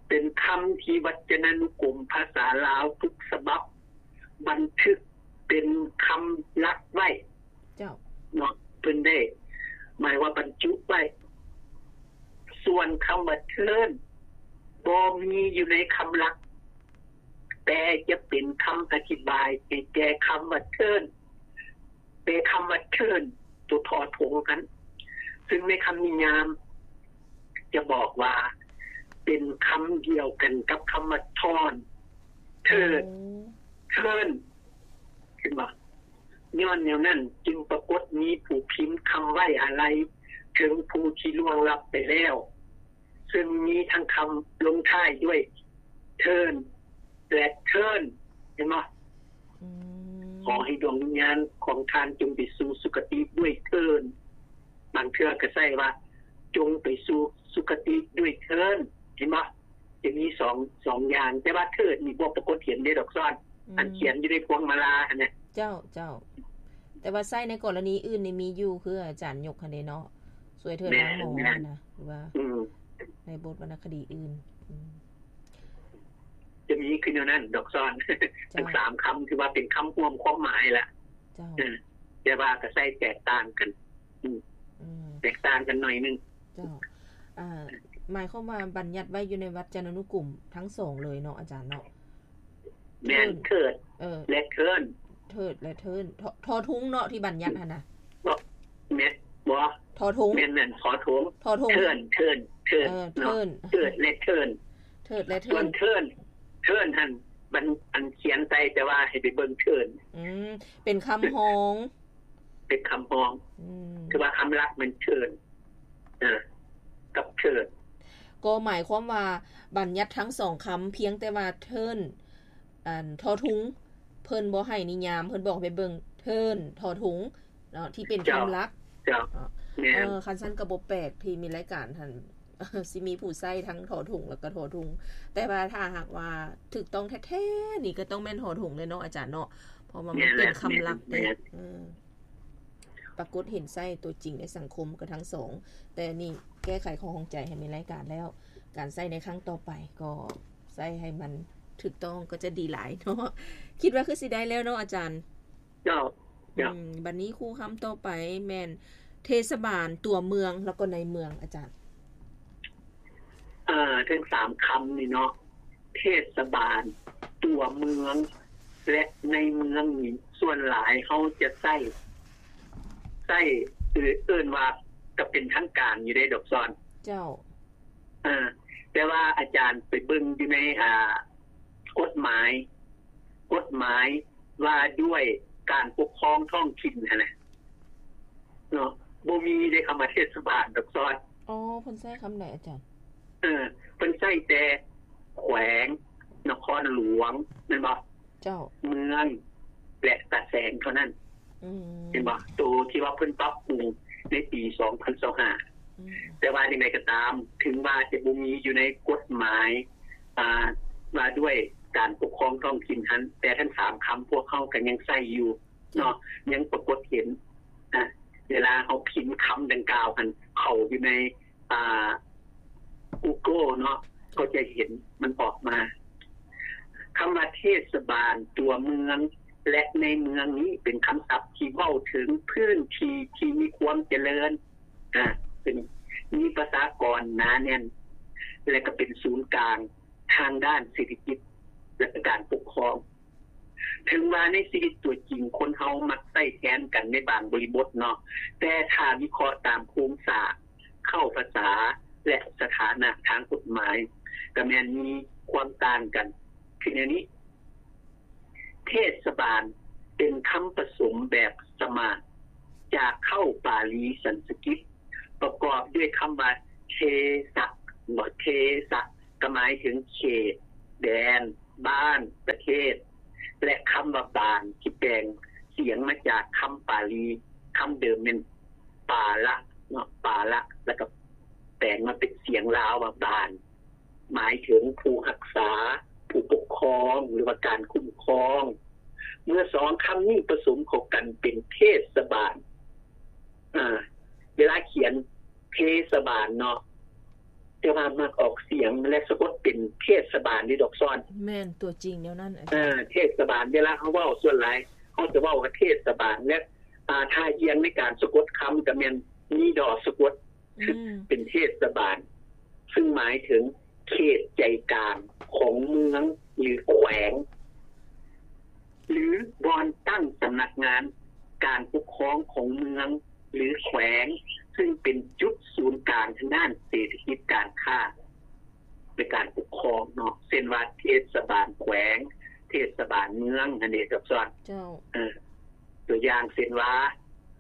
ເປັນຄຳທີ່ວັດຈະນານຸກົມພາສາລາວທຸກສະບັບບັນທຶກເປັນຄຳຫຼັກໄວ້. ເຈົ້າ. ເນາະ ເພິ່ນໄດ້ໝາຍວ່າບັນຈຸໄວ້. ສ່ວນຄຳວ່າເທີນ ບໍ່ມີຢູ່ໃນຄຳຫຼັກ ແຕ່ຈະເປັນຄຳອະທິບາຍໃຫ້ແກ່ຄຳວ່າເທີນ. ແຕ່ຄຳວ່າເທີນ ຕົວ ທ ຖົງຫັ້ນ ຊຶ່ງໃນຄຳນິຍາມຈະບອກວ່າເປັນຄຳດຽວກັນກັບຄຳວ່າທອນ ເທີນ ເທີນ ເຫັນບໍ່? ຍ້ອນແນວນັ້ນຈຶ່ງປາກົດມີຜູ້ພິມຄຳໄວ້ອາໄລເຖິງຜູ້ທີ່ລ່ວງລັບໄປແລ້ວ ເຊິ່ງມີທັງຄຳລົງທ້າຍດ້ວຍເທີນ ແລະ ເທີນ ເຫັນບໍ່? ອືມ ຂໍໃຫ້ດວງວິນຍານຂອງທ່ານຈົ່ງໄປສູ່ສຸຄະຕິດ້ວຍເທີນ. ບາງເທື່ອກໍໃຊ້ວ່າ ຈົ່ງໄປສູ່ສຸຄະຕິດ້ວຍເທີນ ເຫັນບໍ່? ຈະມີສອງ ສອງຢ່າງ ແຕ່ວ່າເທີນນີ້ບໍ່ປາກົດເຫັນເດ້ດອກຊອນ ອືມ ອັນຂຽນຢູ່ໃນພວງມາລາຫັ້ນນະ. ເຈົ້າ ເຈົ້າ. ແຕ່ວ່າໃຊ້ໃນກໍລະນີອື່ນນີ້ມີຢູ່ ຄືອາຈານຍົກຫັ້ນເດ້ເນາະ ຊ່ວຍເທີນນາງໝໍຫັ້ນນະ ຫຼືວ່າ ອືມ ໃນບົດວັນນະຄະດີອື່ນ ອືມ ຈະມີຄືແນວນັ້ນດອກຊອນ. ເຈົ້າ. ທັງສາມຄຳຖືວ່າເປັນຄຳຮ່ວມຄວາມໝາຍລະ. ເຈົ້າ. ເອີ ແຕ່ວ່າກໍໃຊ້ແຕກຕ່າງກັນ ອືມ ອືມ ແຕກຕ່າງກັນໜ້ອຍໜຶ່ງ. ເຈົ້າ. ອ່າ ໝາຍຄວາມວ່າບັນຍັດໄວ້ຢູ່ໃນວັດຈະນານຸກຸມທັງສອງເລີຍເນາະອາຈານເນາະ? ແມ່ນ ເທີ້ນ ເທີ້ນ ເອີ ແລະ ເທີ້ນ ເທີ້ນ ແລະ ເທີ້ນ ທໍ ທໍທຸງເນາະທີ່ບັນຍັດຫັ້ນນະ. ບໍ່ ແມ່ນ ບໍ່ ທໍທຸງ ແມ່ນ ແມ່ນ ທໍທຸງ ທໍທຸງ ເທີ້ນ ເທີ້ນ ເທີ້ນ ເອີ ເນາະ ເທີ້ນ ເທີ້ນ ແລະ ເທີ້ນ ເທີ້ນ ແລະ ເທີ້ນ ສ່ວນເທີ້ນ ເທີ້ນຫັ້ນ ບັນ ອັນຂຽນໃສ່ ແຕ່ວ່າໃຫ້ໄປເບິ່ງເທີ້ນ ອືມ ເປັນຄຳຮອງ ເປັນຄຳຮອງ ອືມ ຄືວ່າຄຳຫຼັກແມ່ນເທີ້ນ ເອີ ກັບເທີ້ນ ກໍໝາຍຄວາມວ່າບັນຍັດທັງສອງຄຳ ພຽງແຕ່ວ່າເທີ້ນ ອັນ ທໍທຸງ ເພິ່ນບໍ່ໃຫ້ນິຍາມ ເພິ່ນບອກໃຫ້ໄປເບິ່ງເທີ້ນ ທໍທຸງ ເນາະ ທີ່ເປັນຄຳຫຼັກ ເຈົ້າ ເຈົ້າ ເນາະ ແມ່ນ ເອີ ຄັນຊັ້ນກໍບໍ່ແປກທີ່ມີລາຍການຫັ້ນ ຊິມີຜູ້ໃຊ້ທັງທໍທຸງ ແລ້ວກໍທໍທຸງ ແຕ່ວ່າຖ້າຫາກວ່າຖືກຕ້ອງແທ້ໆນີ້ ກໍຕ້ອງແມ່ນທໍທຸງເລີຍເນາະອາຈານເນາະ ເພາະວ່າມັນເປັນຄຳຫຼັກເດ້ ແມ່ນແຫຼະ ແມ່ນແຫຼະ ເອີ ປາກົດເຫັນໃຊ້ຕົວຈິງໃນສັງຄົມກໍທັງສອງ ແຕ່ນີ້ແກ້ໄຂຂໍ້ຂ້ອງໃຈໃຫ້ມີລາຍການແລ້ວ ການໃຊ້ໃນຄັ້ງຕໍ່ໄປກໍໃຊ້ໃຫ້ມັນຖືກຕ້ອງກໍຈະດີຫຼາຍເນາະ ຄິດວ່າຄືຊິໄດ້ແລ້ວເນາະອາຈານ. ເຈົ້າ ເຈົ້າ ອືມ ບັດນີ້ຄູ່ຄຳຕໍ່ໄປແມ່ນເທດສະບານ, ຕົວເມືອງ ແລ້ວກໍໃນເມືອງ ອາຈານ. ເອີ ທັງສາມຄຳນີ້ເນາະ ເທດສະບານ, ຕົວເມືອງ ແລະ ໃນເມືອງນີ້ ສ່ວນຫຼາຍເຮົາຈະໃຊ້ ໃຊ້ ເອີ້ນວ່າກໍເປັນທາງການຢູ່ເດ້ ດອກຊອນ. ເຈົ້າ. ເອີ ແຕ່ວ່າອາຈານໄປເບິ່ງຢູ່ໃນ ອ່າ ກົດໝາຍ ກົດໝາຍວ່າດ້ວຍການປົກຄອງທ້ອງຖິ່ນຫັ້ນນະເນາະ ບໍ່ມີເດ້ຄຳວ່າເທດສະບານດອກຊອນ. ອໍ ເພິ່ນໃຊ້ຄຳໃດອາຈານ? ເອີ ເພິ່ນໃຊ້ແຕ່ແຂວງ, ນະຄອນຫຼວງ ແມ່ນບໍ່? ເຈົ້າ. ເມືອງ ແລະ ຕາແສງເທົ່ານັ້ນ. ອືມ ເຫັນບໍ່? ໂຕທີ່ວ່າເພິ່ນປັບປຸງໃນປີສອງພັນຊາວຫ້າ ອືມ ແຕ່ວ່າຈັ່ງໃດກໍຕາມ ເຖິງວ່າຈະບໍ່ມີຢູ່ໃນກົດໝາຍ ອ່າ ວ່າດ້ວຍການປົກຄອງທ້ອງຖິ່ນຫັ້ນ ແຕ່ທັງສາມຄຳພວກເຮົາກໍຍັງໃຊ້ຢູ່ເນາະ ຍັງປາກົດເຫັນ. ອ່າ ເວລາເຮົາພິມຄຳດັ່ງກ່າວຫັ້ນເຂົ້າຢູ່ໃນ ອ່າ Google ເນາະ ກໍຈະເຫັນມັນອອກມາ. ຄຳວ່າເທດສະບານ, ຕົວເມືອງ ແລະ ໃນເມືອງນີ້ເປັນຄຳສັບທີ່ເວົ້າເຖິງພື້ນທີ່ທີ່ມີຄວາມຈະເລີນ, ອາ ເປັນ ມີປະຊາກອນໜາແໜ້ນ ແລະ ກໍເປັນສູນກາງທາງດ້ານເສດຖະກິດ ແລະ ການປົກຄອງ. ເຖິງວ່າໃນຊີວິດຕົວຈິງຄົນເຮົາມັກໃຊ້ແທນກັນໃນບາງບໍລິບົດເນາະ, ແຕ່ຖ້າວິເຄາະຕາມໂຄງສ້າງ, ເຄົ້າພາສາ ແລະ ສະຖານະທາງກົດໝາຍ ກໍແມ່ນມີຄວາມຕ່າງກັນ. ຄືແນວນີ້, ເທດສະບານເປັນຄຳປະສົມແບບສະໝາດ ຈາກເຄົ້າປາລີສັນສະກິດ ປະກອບດ້ວຍຄຳວ່າ ເທສະ ບໍ່ ເທສະ ກໍໝາຍເຖິງເຂດ, ແດນ, ບ້ານ, ປະເທດ ແລະ ຄຳວ່າບານ ທີ່ແປງສຽງມາຈາກຄຳປາລີຄຳເດີມແມ່ນປາລະເນາະ, ປາລະ ແລ້ວກໍແປງມາເປັນສຽງລາວວ່າບານ ໝາຍເຖິງຜູ້ຮັກສາ, ຜູ້ປົກຄອງ ຫຼືວ່າການຄຸ້ມຄອງ. ເມື່ອສອງຄຳນີ້ປະສົມເຂົ້າກັນເປັນເທດສະບານ, ອາ ເວລາຂຽນເທສະບານເນາະ, ແຕ່ວ່າມັກອອກສຽງ ແລະ ສະກົດເປັນເທດສະບານເດ້ດອກຊອນ. ແມ່ນ ຕົວຈິງແນວນັ້ນອາຈານ. ເທດສະບານ ເວລາເຮົາເວົ້າສ່ວນຫຼາຍ ເຮົາຈະເວົ້າວ່າເທດສະບານ ແລະ ອາ ທ່າອ່ຽງໃນການສະກົດຄຳກໍແມ່ນມີດໍສະກົດ ອືມ ເປັນເທດສະບານ ຊຶ່ງໝາຍເຖິງເຂດໃຈກາງຂອງເມືອງ ຫຼື ແຂວງ ຫຼື ບ່ອນຕັ້ງສຳນັກງານການປົກຄອງຂອງເມືອງ ຫຼື ແຂວງ ຊຶ່ງເປັນຈຸດສູນກາງທາງດ້ານເສດຖະກິດການຄ້າ ໃນການປົກຄອງເນາະ ເຊັ່ນວ່າເທດສະບານແຂວງ, ເທດສະບານເມືອງ ຫັ້ນເດ້ ດອກຊອນ. ເຈົ້າ. ເອີ ຕົວຢ່າງເຊັ່ນວ່າ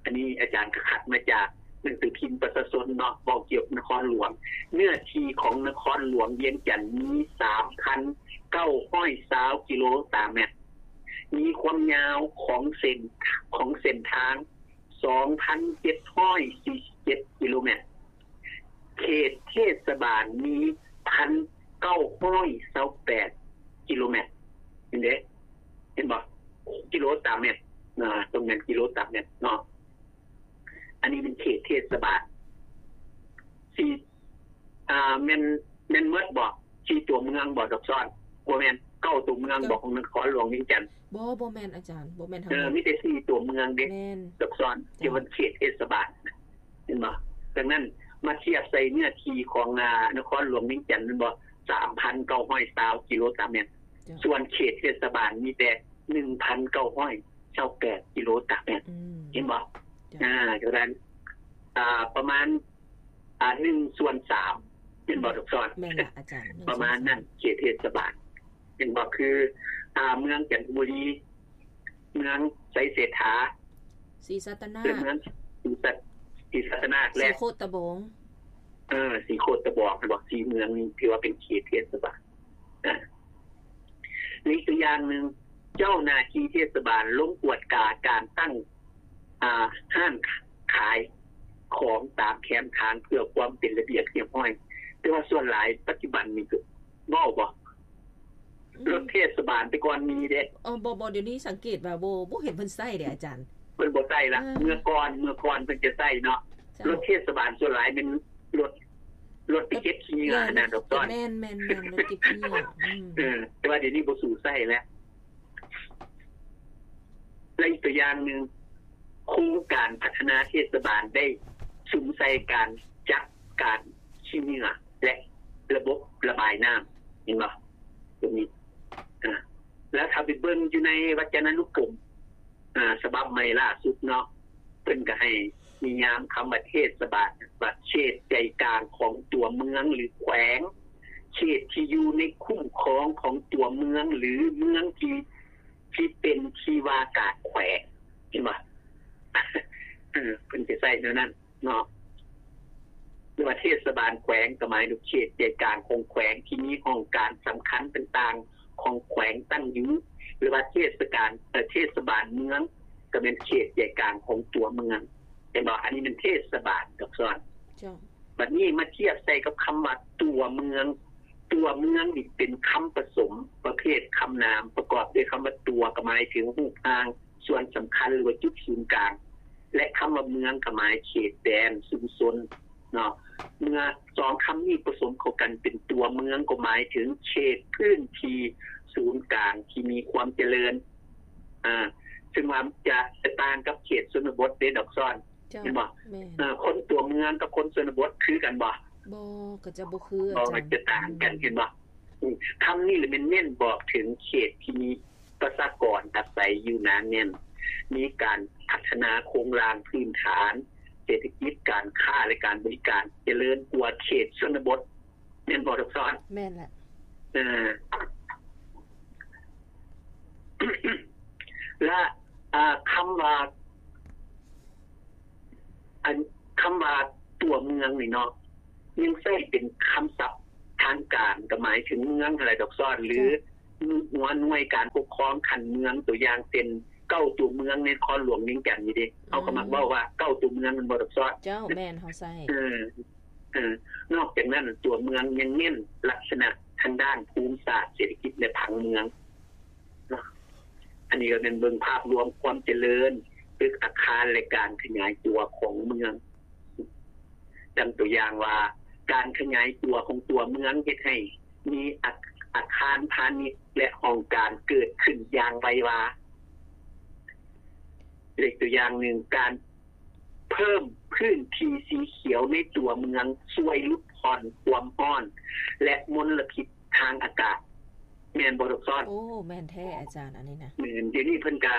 ອັນນີ້ອາຈານກໍຄັດມາຈາກໜັງສືພິມປະຊາຊົນເນາະ ເວົ້າກ່ຽວກັບນະຄອນຫຼວງ. ເນື້ອທີ່ຂອງນະຄອນຫຼວງວຽງຈັນມີສາມພັນເກົ້າຮ້ອຍຊາວກິໂລຕາແມັດ, ມີຄວາມຍາວຂອງເສັ້ນ ຂອງເສັ້ນທາງສອງພັນເຈັດຮ້ອຍສີ່ສິບເຈັດກິໂລແມັດ, ເຂດເທດສະບານມີພັນເກົ້າຮ້ອຍຊາວແປດກິໂລແມັດ. ເຫັນເດ້? ເຫັນບໍ່? ກິໂລຕາແມັດ. ອາ ຕ້ອງແມ່ນກິໂລຕາແມັດເນາະ. ອັນນີ້ເປັນເຂດເທດສະບານ ສີ່ ອ່າ ແມ່ນ ແມ່ນໝົດບໍ່? ສີ່ຕົວເມືອງບໍ່ ດອກຊອນ? ບໍ່ແມ່ນ ເກົ້າຕົວເມືອງບໍ່ ຂອງນະຄອນຫຼວງວຽງຈັນ? ບໍ່ ບໍ່ແມ່ນອາຈານ ບໍ່ແມ່ນທັງໝົດ. ເອີ ມີແຕ່ສີ່ຕົວເມືອງເດ້ ແມ່ນ ດອກຊອນ ທີ່ວ່າເຂດເທດສະບານ ເຫັນບໍ່? ດັ່ງນັ້ນ ມາທຽບໃສ່ເນື້ອທີ່ຂອງ ອາ ນະຄອນຫຼວງວຽງຈັນແມ່ນບໍ່ ສາມພັນເກົ້າຮ້ອຍຊາວກິໂລຕາແມັດ ເຈົ້າ ສ່ວນເຂດເທດສະບານມີແຕ່ໜຶ່ງພັນເກົ້າຮ້ອຍຊາວແປດກິໂລຕາແມັດ ອືມ ເຫັນບໍ່? ເຈົ້າ ອາ ເທົ່ານັ້ນ ອາ ປະມານ ອາ ໜຶ່ງສ່ວນສາມ ເຫັນບໍ່ ດອກສອນ? ແມ່ນລະອາຈານ ປະມານນັ້ນ ເຂດເທດສະບານ ເຫັນບໍ່? ຄື ອາ ເມືອງຈັນທະບູລີ ເມືອງໄຊເສດຖາ ສີສັດຕະນາກ ເມືອງສີສັດ ສີສັດຕະນາກ ແລະ ສີໂຄດຕະບອງ ເອີ ສີໂຄດຕະບອງ ເຫັນບໍ່? ສີ່ເມືອງນີ້ຖືວ່າເປັນເຂດເທດສະບານ ອາ ອີກຕົວຢ່າງໜຶ່ງ ເຈົ້າໜ້າທີ່ເທດສະບານລົງກວດກາການຕັ້ງ ອາ ຮ້ານຂາຍຂອງຕາມແຄມທາງເພື່ອຄວາມເປັນລະບຽບຮຽບຮ້ອຍ ແຕ່ວ່າສ່ວນຫຼາຍປັດຈຸບັນນີ້ກໍເວົ້າບໍ່? ອືມ ລົດເທດສະບານແຕ່ກ່ອນມີເດ້ ເອີ ບໍ່ ບໍ່ ດຽວນີ້ສັງເກດວ່າບໍ່ ບໍ່ເຫັນເພິ່ນໃຊ້ເດ້ອາຈານ ເພິ່ນບໍ່ໃຊ້ລະ ເອີ ເມື່ອກ່ອນ ເມື່ອກ່ອນເພິ່ນຈະໃຊ້ເນາະ ເຈົ້າ ລົດເທດສະບານສ່ວນຫຼາຍແມ່ນລົດ ລົດໄປເກັບຂີ້ເຫຍື້ອຫັ້ນນະ ດອກສອນ ແມ່ນໆໆ ລົດເກັບຂີ້ເຫຍື້ອ ອືມ ເອີ ແຕ່ວ່າດຽວນີ້ບໍ່ສູ່ໃຊ້ແລ້ວ ແລະ ອີກຕົວຢ່າງໜຶ່ງ ໂຄງການພັດທະນາເທດສະບານໄດ້ສຸມໃສ່ການຈັດການຂີ້ເຫຍື້ອ ແລະ ລະບົບລະບາຍນ້ຳ ເຫັນບໍ່? ຕົວນີ້ ອາ ແລ້ວຖ້າໄປເບິ່ງຢູ່ໃນວັດຈະນານຸກົມ ອາ ສະບັບໃໝ່ລ່າສຸດເນາະ ເພິ່ນກໍໃຫ້ນິຍາມຄຳວ່າເທດສະບານວ່າເຂດໃຈກາງຂອງຕົວເມືອງ ຫຼື ແຂວງ ເຂດທີ່ຢູ່ໃນຄຸ້ມຄອງຂອງຕົວເມືອງ ຫຼື ເມືອງທີ່ ທີ່ເປັນທີ່ວ່າການແຂວງ ເຫັນບໍ່? ເອີ ເພິ່ນຈະໃຊ້ແນວນັ້ນເນາະ ຫຼືວ່າເທດສະບານແຂວງ ກໍໝາຍເຖິງເຂດໃຈກາງຂອງແຂວງ ທີ່ມີຫ້ອງການສຳຄັນຕ່າງໆຂອງແຂວງຕັ້ງຢູ່ ຫຼືວ່າເທດສະການ ເອີ ເທດສະບານເມືອງ ກໍແມ່ນເຂດໃຈກາງຂອງຕົວເມືອງ ເຫັນບໍ່? ອັນນີ້ແມ່ນເທດສະບານ ດອກສອນ ເຈົ້າ ບັດນີ້ມາທຽບໃສ່ກັບຄຳວ່າຕົວເມືອງ ຕົວເມືອງນີ້ເປັນຄຳປະສົມປະເພດຄຳນາມ ປະກອບດ້ວຍຄຳວ່າຕົວ ກໍໝາຍເຖິງຮູບຮ່າງ ສ່ວນສຳຄັນ ຫຼືວ່າຈຸດສູນກາງ ແລະ ຄຳວ່າເມືອງກໍໝາຍເຂດແດນຊຸມຊົນເນາະ ເມື່ອສອງຄຳນີ້ປະສົມເຂົ້າກັນເປັນຕົວເມືອງ ກໍໝາຍເຖິງເຂດພື້ນທີ່ສູນກາງທີ່ມີຄວາມຈະເລີນ ອາ ເຊິ່ງວ່າຈະ ຈະຕ່າງກັບເຂດຊົນນະບົດເດ້ ດອກສອນ ເຈົ້າ ແມ່ນບໍ່? ແມ່ນ ເອີ ຄົນຕົວເມືອງກັບຄົນຊົນນະບົດຄືກັນບໍ່? ບໍ່ ກໍຈະບໍ່ຄື ບໍ່ ອາຈານ ມັນຈະຕ່າງກັນ ເຫັນບໍ່? ອືມ ຄຳນີ້ລະແມ່ນເນັ້ນບອກເຖິງເຂດທີ່ມີປະຊາກອນອາໄສຢູ່ໜາແໜ້ນ ມີການພັດທະນາໂຄງລ່າງພື້ນຖານເສດຖະກິດ, ການຄ້າ ແລະ ການບໍລິການຈະເລີນກວ່າເຂດຊົນນະບົດ. ແມ່ນບໍ່ ດອກສອນ? ແມ່ນແຫຼະ ເອີ ແລະ ອາ ຄຳວ່າ ອັນ ຄຳວ່າຕົວເມືອງນີ້ເນາະ ຍັງໃຊ້ເປັນຄຳສັບທາງການ ກໍໝາຍເຖິງເມືອງຫັ້ນແຫຼະ ດອກສອນ ຫຼື ເຈົ້າ ຫົວໜ່ວຍການປົກຄອງຂັ້ນເມືອງ ຕົວຢ່າງເຊັ່ນ ເກົ້າຕົວເມືອງໃນນະຄອນຫຼວງວຽງຈັນນີ້ເດ້ ເຮົາກໍມັກເວົ້າວ່າເກົ້າຕົວເມືອງ ແມ່ນບໍ່ ດອກສອນ? ເຈົ້າ ແມ່ນ ເຮົາໃຊ້ ເອີ ເອີ ນອກຈາກນັ້ນ ຕົວເມືອງຍັງເນັ້ນລັກສະນະທາງດ້ານພູມສາດ, ເສດຖະກິດ ແລະ ຜັງເມືອງເນາະ. ອັນນີ້ກໍແມ່ນເບິ່ງພາບລວມຄວາມຈະເລີນ ຕຶກອາຄານ ແລະ ການຂະຫຍາຍຕົວຂອງເມືອງ. ດັ່ງຕົວຢ່າງວ່າ ການຂະຫຍາຍຕົວຂອງຕົວເມືອງເຮັດໃຫ້ມີອາ ອາຄານພານິດ ແລະ ຫ້ອງການເກີດຂຶ້ນຢ່າງໄວວາ. ເລກຕົວຢ່າງໜຶ່ງ ການ ເພີ່ມພື້ນທີ່ສີຂຽວໃນຕົວເມືອງ ຊ່ວຍຫຼຸດຜ່ອນຄວາມຮ້ອນ ແລະ ມົນລະພິດທາງອາກາດ. ແມ່ນບໍ່ ດອກສອນ? ໂອ້ ແມ່ນແທ້ອາຈານ ອັນນີ້ນະ. ແມ່ນ ດຽວນີ້ເພິ່ນກະ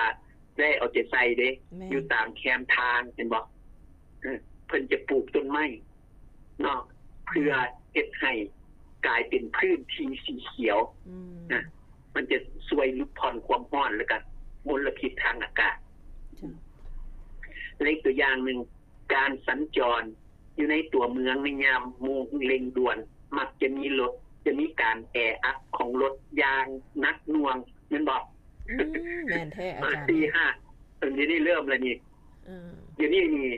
ໄດ້ເອົາໃຈໃສ່ເດ້ ແມ່ນ ຢູ່ຕາມແຄມທາງ ເຫັນບໍ່? ເອີ ເພິ່ນຈະປູກຕົ້ນໄມ້ເນາະ ເພື່ອເຮັດໃຫ້ກາຍເປັນພື້ນທີ່ສີຂຽວ ອືມ ນະ. ມັນຈະຊ່ວຍຫຼຸດຜ່ອນຄວາມຮ້ອນ ແລ້ວກະມົນລະພິດທາງອາກາດ. ເຈົ້າ ແລະ ອີກຕົວຢ່າງໜຶ່ງ ການສັນຈອນຢູ່ໃນຕົວເມືອງໃນຍາມໂມງເລັ່ງດ່ວນ ມັກຈະມີລົດ ຈະມີການແອອັດຂອງລົດຢ່າງໜັກໜ່ວງ ແມ່ນບໍ່? ອືມ ແມ່ນແທ້ອາຈານ ສີ່ຫ້າ ດຽວນີ້ເລີ່ມແລ້ວນີ້ ເອີ ດຽວນີ້ນີ້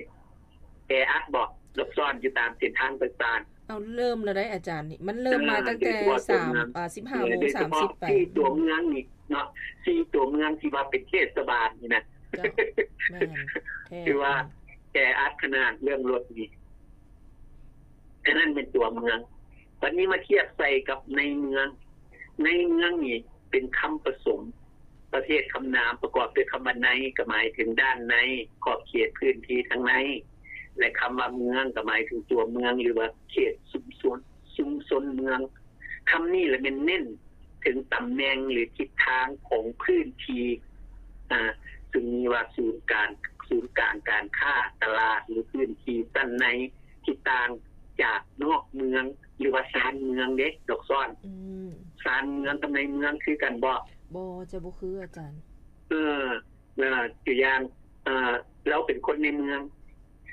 ແອອັດບໍ່ ດອກສອນ ຢູ່ຕາມເສັ້ນທາງຕ່າງໆ? ເອົາ ເລີ່ມແລ້ວໄດ໋ອາຈານ ນີ້ມັນເລີ່ມມາ ເອີ ຕັ້ງແຕ່ ໂດຍສະເພາະຕົວເມືອງ ສາມ ອາ ສິບຫ້າໂມງ ເອີ ໂດຍສະເພາະ ສາມສິບໄປ ທີ່ຕົວເມືອງນີ້ເນາະ ທີ່ຕົວເມືອງທີ່ວ່າເປັນເທດສະບານນີ້ນະ ເຈົ້າ ແມ່ນແທ້ ຖືວ່າແອອັດຂະໜາດເລື່ອງລົດນີ້. ອັນນັ້ນແມ່ນຕົວເມືອງ. ບັດນີ້ມາທຽບໃສ່ກັບໃນເມືອງ. ໃນເມືອງນີ້ເປັນຄຳປະສົມປະເພດຄຳນາມ ປະກອບດ້ວຍຄຳວ່າໃນ ກໍໝາຍເຖິງດ້ານໃນ, ຂອບເຂດພື້ນທີ່ທາງໃນ. ແລະ ຄຳວ່າເມືອງກໍໝາຍເຖິງຕົວເມືອງ ຫຼືວ່າເຂດຊຸມຊົນ ຊຸມຊົນເມືອງ. ຄຳນີ້ລະແມ່ນເນັ້ນເຖິງຕຳແໜ່ງ ຫຼື ທິດທາງຂອງພື້ນທີ່ ອາ ຊຶ່ງມີວ່າສູນກາງ ສູນກາງການຄ້າ, ຕະຫຼາດ ຫຼື ພື້ນທີ່ຊັ້ນໃນທີ່ຕ່າງຈາກນອກເມືອງ ຫຼືວ່າຊານເມືອງເດ້ ດອກຊອນ. ອືມ ຊານເມືອງກັບໃນເມືອງຄືກັນບໍ່? ບໍ່ ຈະບໍ່ຄື ອາຈານ. ເອີ ເອີ ຕົວຢ່າງ ເອີ ລາວເປັນຄົນໃນເມືອງ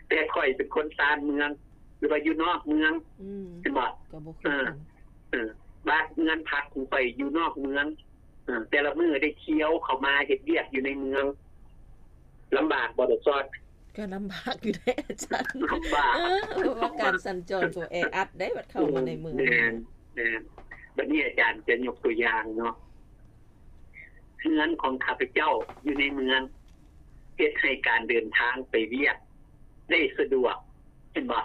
ແຕ່ຂ້ອຍເປັນຄົນຊານເມືອງ ຫຼືວ່າຢູ່ນອກເມືອງ ອືມ ເຫັນບໍ່? ກໍບໍ່ຄືກັນ. ເອີ ເອີ ບ້ານເຮືອນພັກຂອງຂ້ອຍຢູ່ນອກເມືອງ ເອີ ແຕ່ລະມື້ໄດ້ທ່ຽວເຂົ້າມາເຮັດວຽກຢູ່ໃນເມືອງ ລຳບາກບໍ່ ດອກຊອນ? ກໍລຳບາກຢູ່ເດ້ອາຈານ ລຳບາກ ເອີ ເພາະວ່າການສັນຈອນກໍແອອັດເດ້ ບັດເຂົ້າມາໃນເມືອງ. ແມ່ນ ແມ່ນ. ບັດນີ້ອາຈານຈະຍົກຕົວຢ່າງເນາະ ເຮືອນຂອງຂ້າພະເຈົ້າຢູ່ໃນເມືອງ ເຮັດໃຫ້ການເດີນທາງໄປວຽກໄດ້ສະດວກ ເຫັນບໍ່?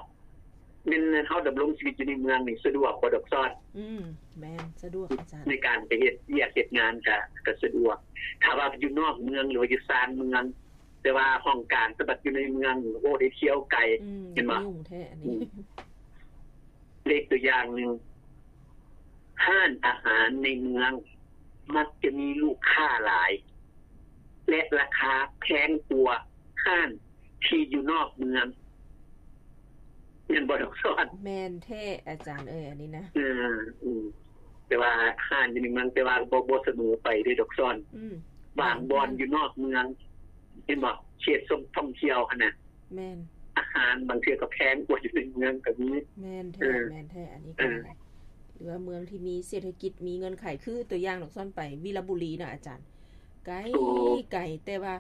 ແມ່ນເຮົາດຳລົງຊີວິດຢູ່ໃນເມືອງນີ້ສະດວກບໍ່ ດອກຊອນ? ອືມ ແມ່ນ ສະດວກອາຈານ. ໃນການໄປເຮັດວຽກເຮັດງານກະ ກະສະດວກ. ຖ້າວ່າຢູ່ນອກເມືອງ ຫຼືວ່າຢູ່ຊານເມືອງ ແຕ່ວ່າຫ້ອງການສະບັດຢູ່ໃນເມືອງ ໂອ້ ໄດ້ທ່ຽວໄກ ອືມ ເຫັນບໍ່? ຫຍຸ້ງແທ້ອັນນີ້. ອືມ ເລກຕົວຢ່າງໜຶ່ງ ຮ້ານອາຫານໃນເມືອງມັກຈະມີລູກຄ້າຫຼາຍ ແລະ ລາຄາແພງກວ່າຮ້ານທີ່ຢູ່ນອກເມືອງ ແມ່ນບໍ່ ດອກຊອນ? ແມ່ນແທ້ອາຈານເອີຍ ອັນນີ້ນະ. ເອີ ອືມ ແຕ່ວ່າຮ້ານຢູ່ໃນເມືອງ ແຕ່ວ່າບໍ່ ບໍ່ສະເໝີໄປເດ້ ດອກຊອນ. ອືມ ບາງບ່ອນ ບາງ ຢູ່ນອກເມືອງ ເຫັນບໍ່? ເຂດຊົມທ່ອງທ່ຽວຫັ້ນນະ ແມ່ນ ອາຫານບາງເທື່ອກໍແພງກວ່າຢູ່ໃນເມືອງກໍມີ. ແມ່ນແທ້ ເອີ ແມ່ນແທ້ ອັນນີ້ກໍ ເອີ ຫຼືວ່າເມືອງທີ່ມີເສດຖະກິດ ມີເງື່ອນໄຂ ຄືຕົວຢ່າງ ດອກຊອນໄປວິລະບູລີນະອາຈານ ໄກ ໂອ້ ໄກ ແຕ່ວ່າ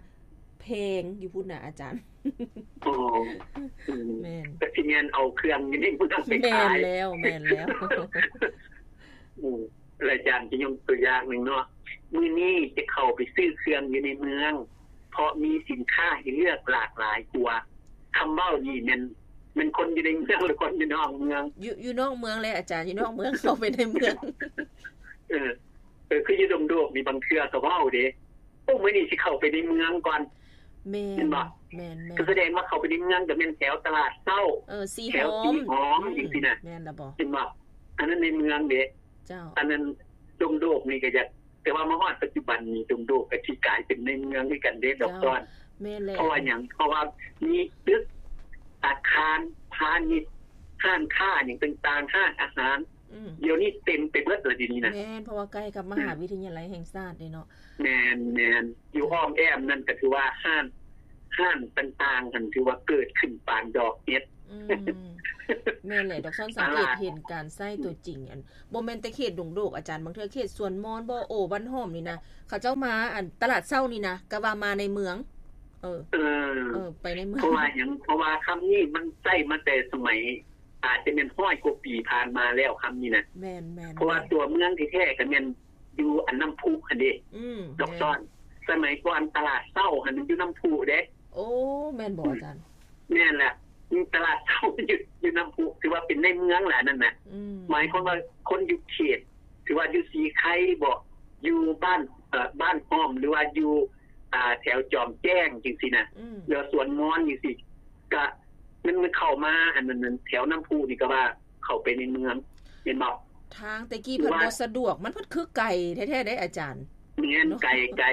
ແພງຢູ່ພຸ້ນນະອາຈານ. ໂອ້ ອືມ ແມ່ນ ກໍຊິແມ່ນເອົາເຄື່ອງຢູ່ໃນເມືອງໄປຂາຍ. ແມ່ນແລ້ວ ແມ່ນແລ້ວ. ອືມ ອາຈານຈະຍົກຕົວຢ່າງໜຶ່ງເນາະ ມື້ນີ້ຈະເຂົ້າໄປຊື້ເຄື່ອງຢູ່ໃນເມືອງ ເພາະມີສິນຄ້າໃຫ້ເລືອກຫຼາກຫຼາຍກວ່າ. ຄຳເວົ້ານີ້ແມ່ນ ແມ່ນຄົນຢູ່ໃນເມືອງ ຫຼື ຄົນຢູ່ນອກເມືອງ? ຢູ່ ຢູ່ນອກເມືອງແຫຼະອາຈານ ຢູ່ນອກເມືອງເຂົ້າໄປໃນເມືອງ. ເອີ ເອີ ຄືຢູ່ດົງໂດກນີ້ ບາງເທື່ອກໍເວົ້າເດ້ ໂອ້ ມື້ນີ້ຊິເຂົ້າໄປໃນເມືອງກ່ອນ. ແມ່ນ ແມ່ນບໍ່? ແມ່ນໆ ກໍສະແດງວ່າເຂົ້າໄປໃນເມືອງກໍແມ່ນແຖວຕະຫຼາດເຊົ້າ ເອີ ສີຫອມ ແຖວສີຫອມ ອືມ ຈັ່ງຊີ້ນະ. ແມ່ນລະບໍ່? ເຫັນບໍ່? ອັນນັ້ນໃນເມືອງເດ້. ເຈົ້າ ອັນນັ້ນດົງໂດກນີ້ກໍຢາກ ແຕ່ວ່າມາຮອດປັດຈຸບັນນີ້ ດົງໂດກກໍຊິກາຍເປັນໃນເມືອງຄືກັນເດ້ ດອກຊອນ. ເຈົ້າ ແມ່ນແລ້ວ. ເພາະວ່າຫຍັງ? ເພາະວ່າມີຕຶກ ອາຄານພານິດ ຮ້ານຄ້າຫຍັງຕ່າງໆ ຮ້ານອາຫານ ອືມ ດຽວນີ້ເຕັມໄປເບິດລະ ດຽວນີ້ນະ. ແມ່ນ ເພາະວ່າໃກ້ກັບມະຫາວິທະຍາໄລແຫ່ງຊາດເດ້ເນາະ. ແມ່ນໆ ຢູ່ອ້ອມແອ້ມນັ້ນກໍຖືວ່າຮ້ານ ຮ້ານຕ່າງໆຫັ້ນຖືວ່າເກີດຂຶ້ນປານດອກເຫັດ. ອືມ ແມ່ນແຫຼະ ດອກຊອນສັງເກດເຫັນການໃຊ້ຕົວຈິງ ອັນ ບໍ່ແມ່ນແຕ່ເຂດດົງໂດກອາຈານ ບາງເທື່ອເຂດສວນມອນ ບໍ່ໂອ ບ້ານຫອມນີ້ນະ ເຂົາເຈົ້າມາ ອັນ ຕະຫຼາດເຊົ້ານີ້ນະ ກະວ່າມາໃນເມືອງ. ເອີ ເອີ ເອີ ໄປໃນເມືອງ. ເພາະວ່າຫຍັງ? ເພາະວ່າຄຳນີ້ມັນໃຊ້ມາແຕ່ສະໄໝ ອາດຈະແມ່ນຮ້ອຍກວ່າປີຜ່ານມາແລ້ວ ຄຳນີ້ນະ. ແມ່ນໆ ເພາະວ່າຕົວເມືອງແທ້ໆກໍແມ່ນຢູ່ອັນນ້ຳພຸຫັ້ນເດ້. ອືມ ດອກຊອນ ແມ່ນ ສະໄໝກ່ອນຕະຫຼາດເຊົ້າຫັ້ນມັນຢູ່ນ້ຳພຸເດ້. ໂອ້ ແມ່ນບໍ່ອາຈານ? ແມ່ນແຫຼະ ຕະຫຼາດເຊົ້າຢູ່ ຢູ່ນ້ຳພຸ ຖືວ່າເປັນໃນເມືອງແຫຼະນັ້ນນະ. ອືມ ໝາຍຄວາມວ່າຄົນຢູ່ເຂດ ຖືວ່າຢູ່ສີໄຄບໍ ຢູ່ບ້ານ ເອີ ບ້ານຫອມ ຫຼືວ່າຢູ່ ອ່າ ແຖວຈອມແຈ້ງຈັ່ງຊີ້ນະ ອືມ ຫຼືວ່າສວນມອນຈັ່ງຊີ້ ກະມັນ ມັນເຂົ້າມາ ອັນນັ້ນ ແຖວນ້ຳພຸນີ້ກໍວ່າເຂົ້າໄປໃນເມືອງ ແມ່ນບໍ່? ທາງແຕ່ກີ້ເພິ່ນບໍ່ສະດວກ ມັນເພິ່ນຄືໄກແທ້ໆເດ້ອາຈານ. ແມ່ນ ເນາະ ໄກ ໄກ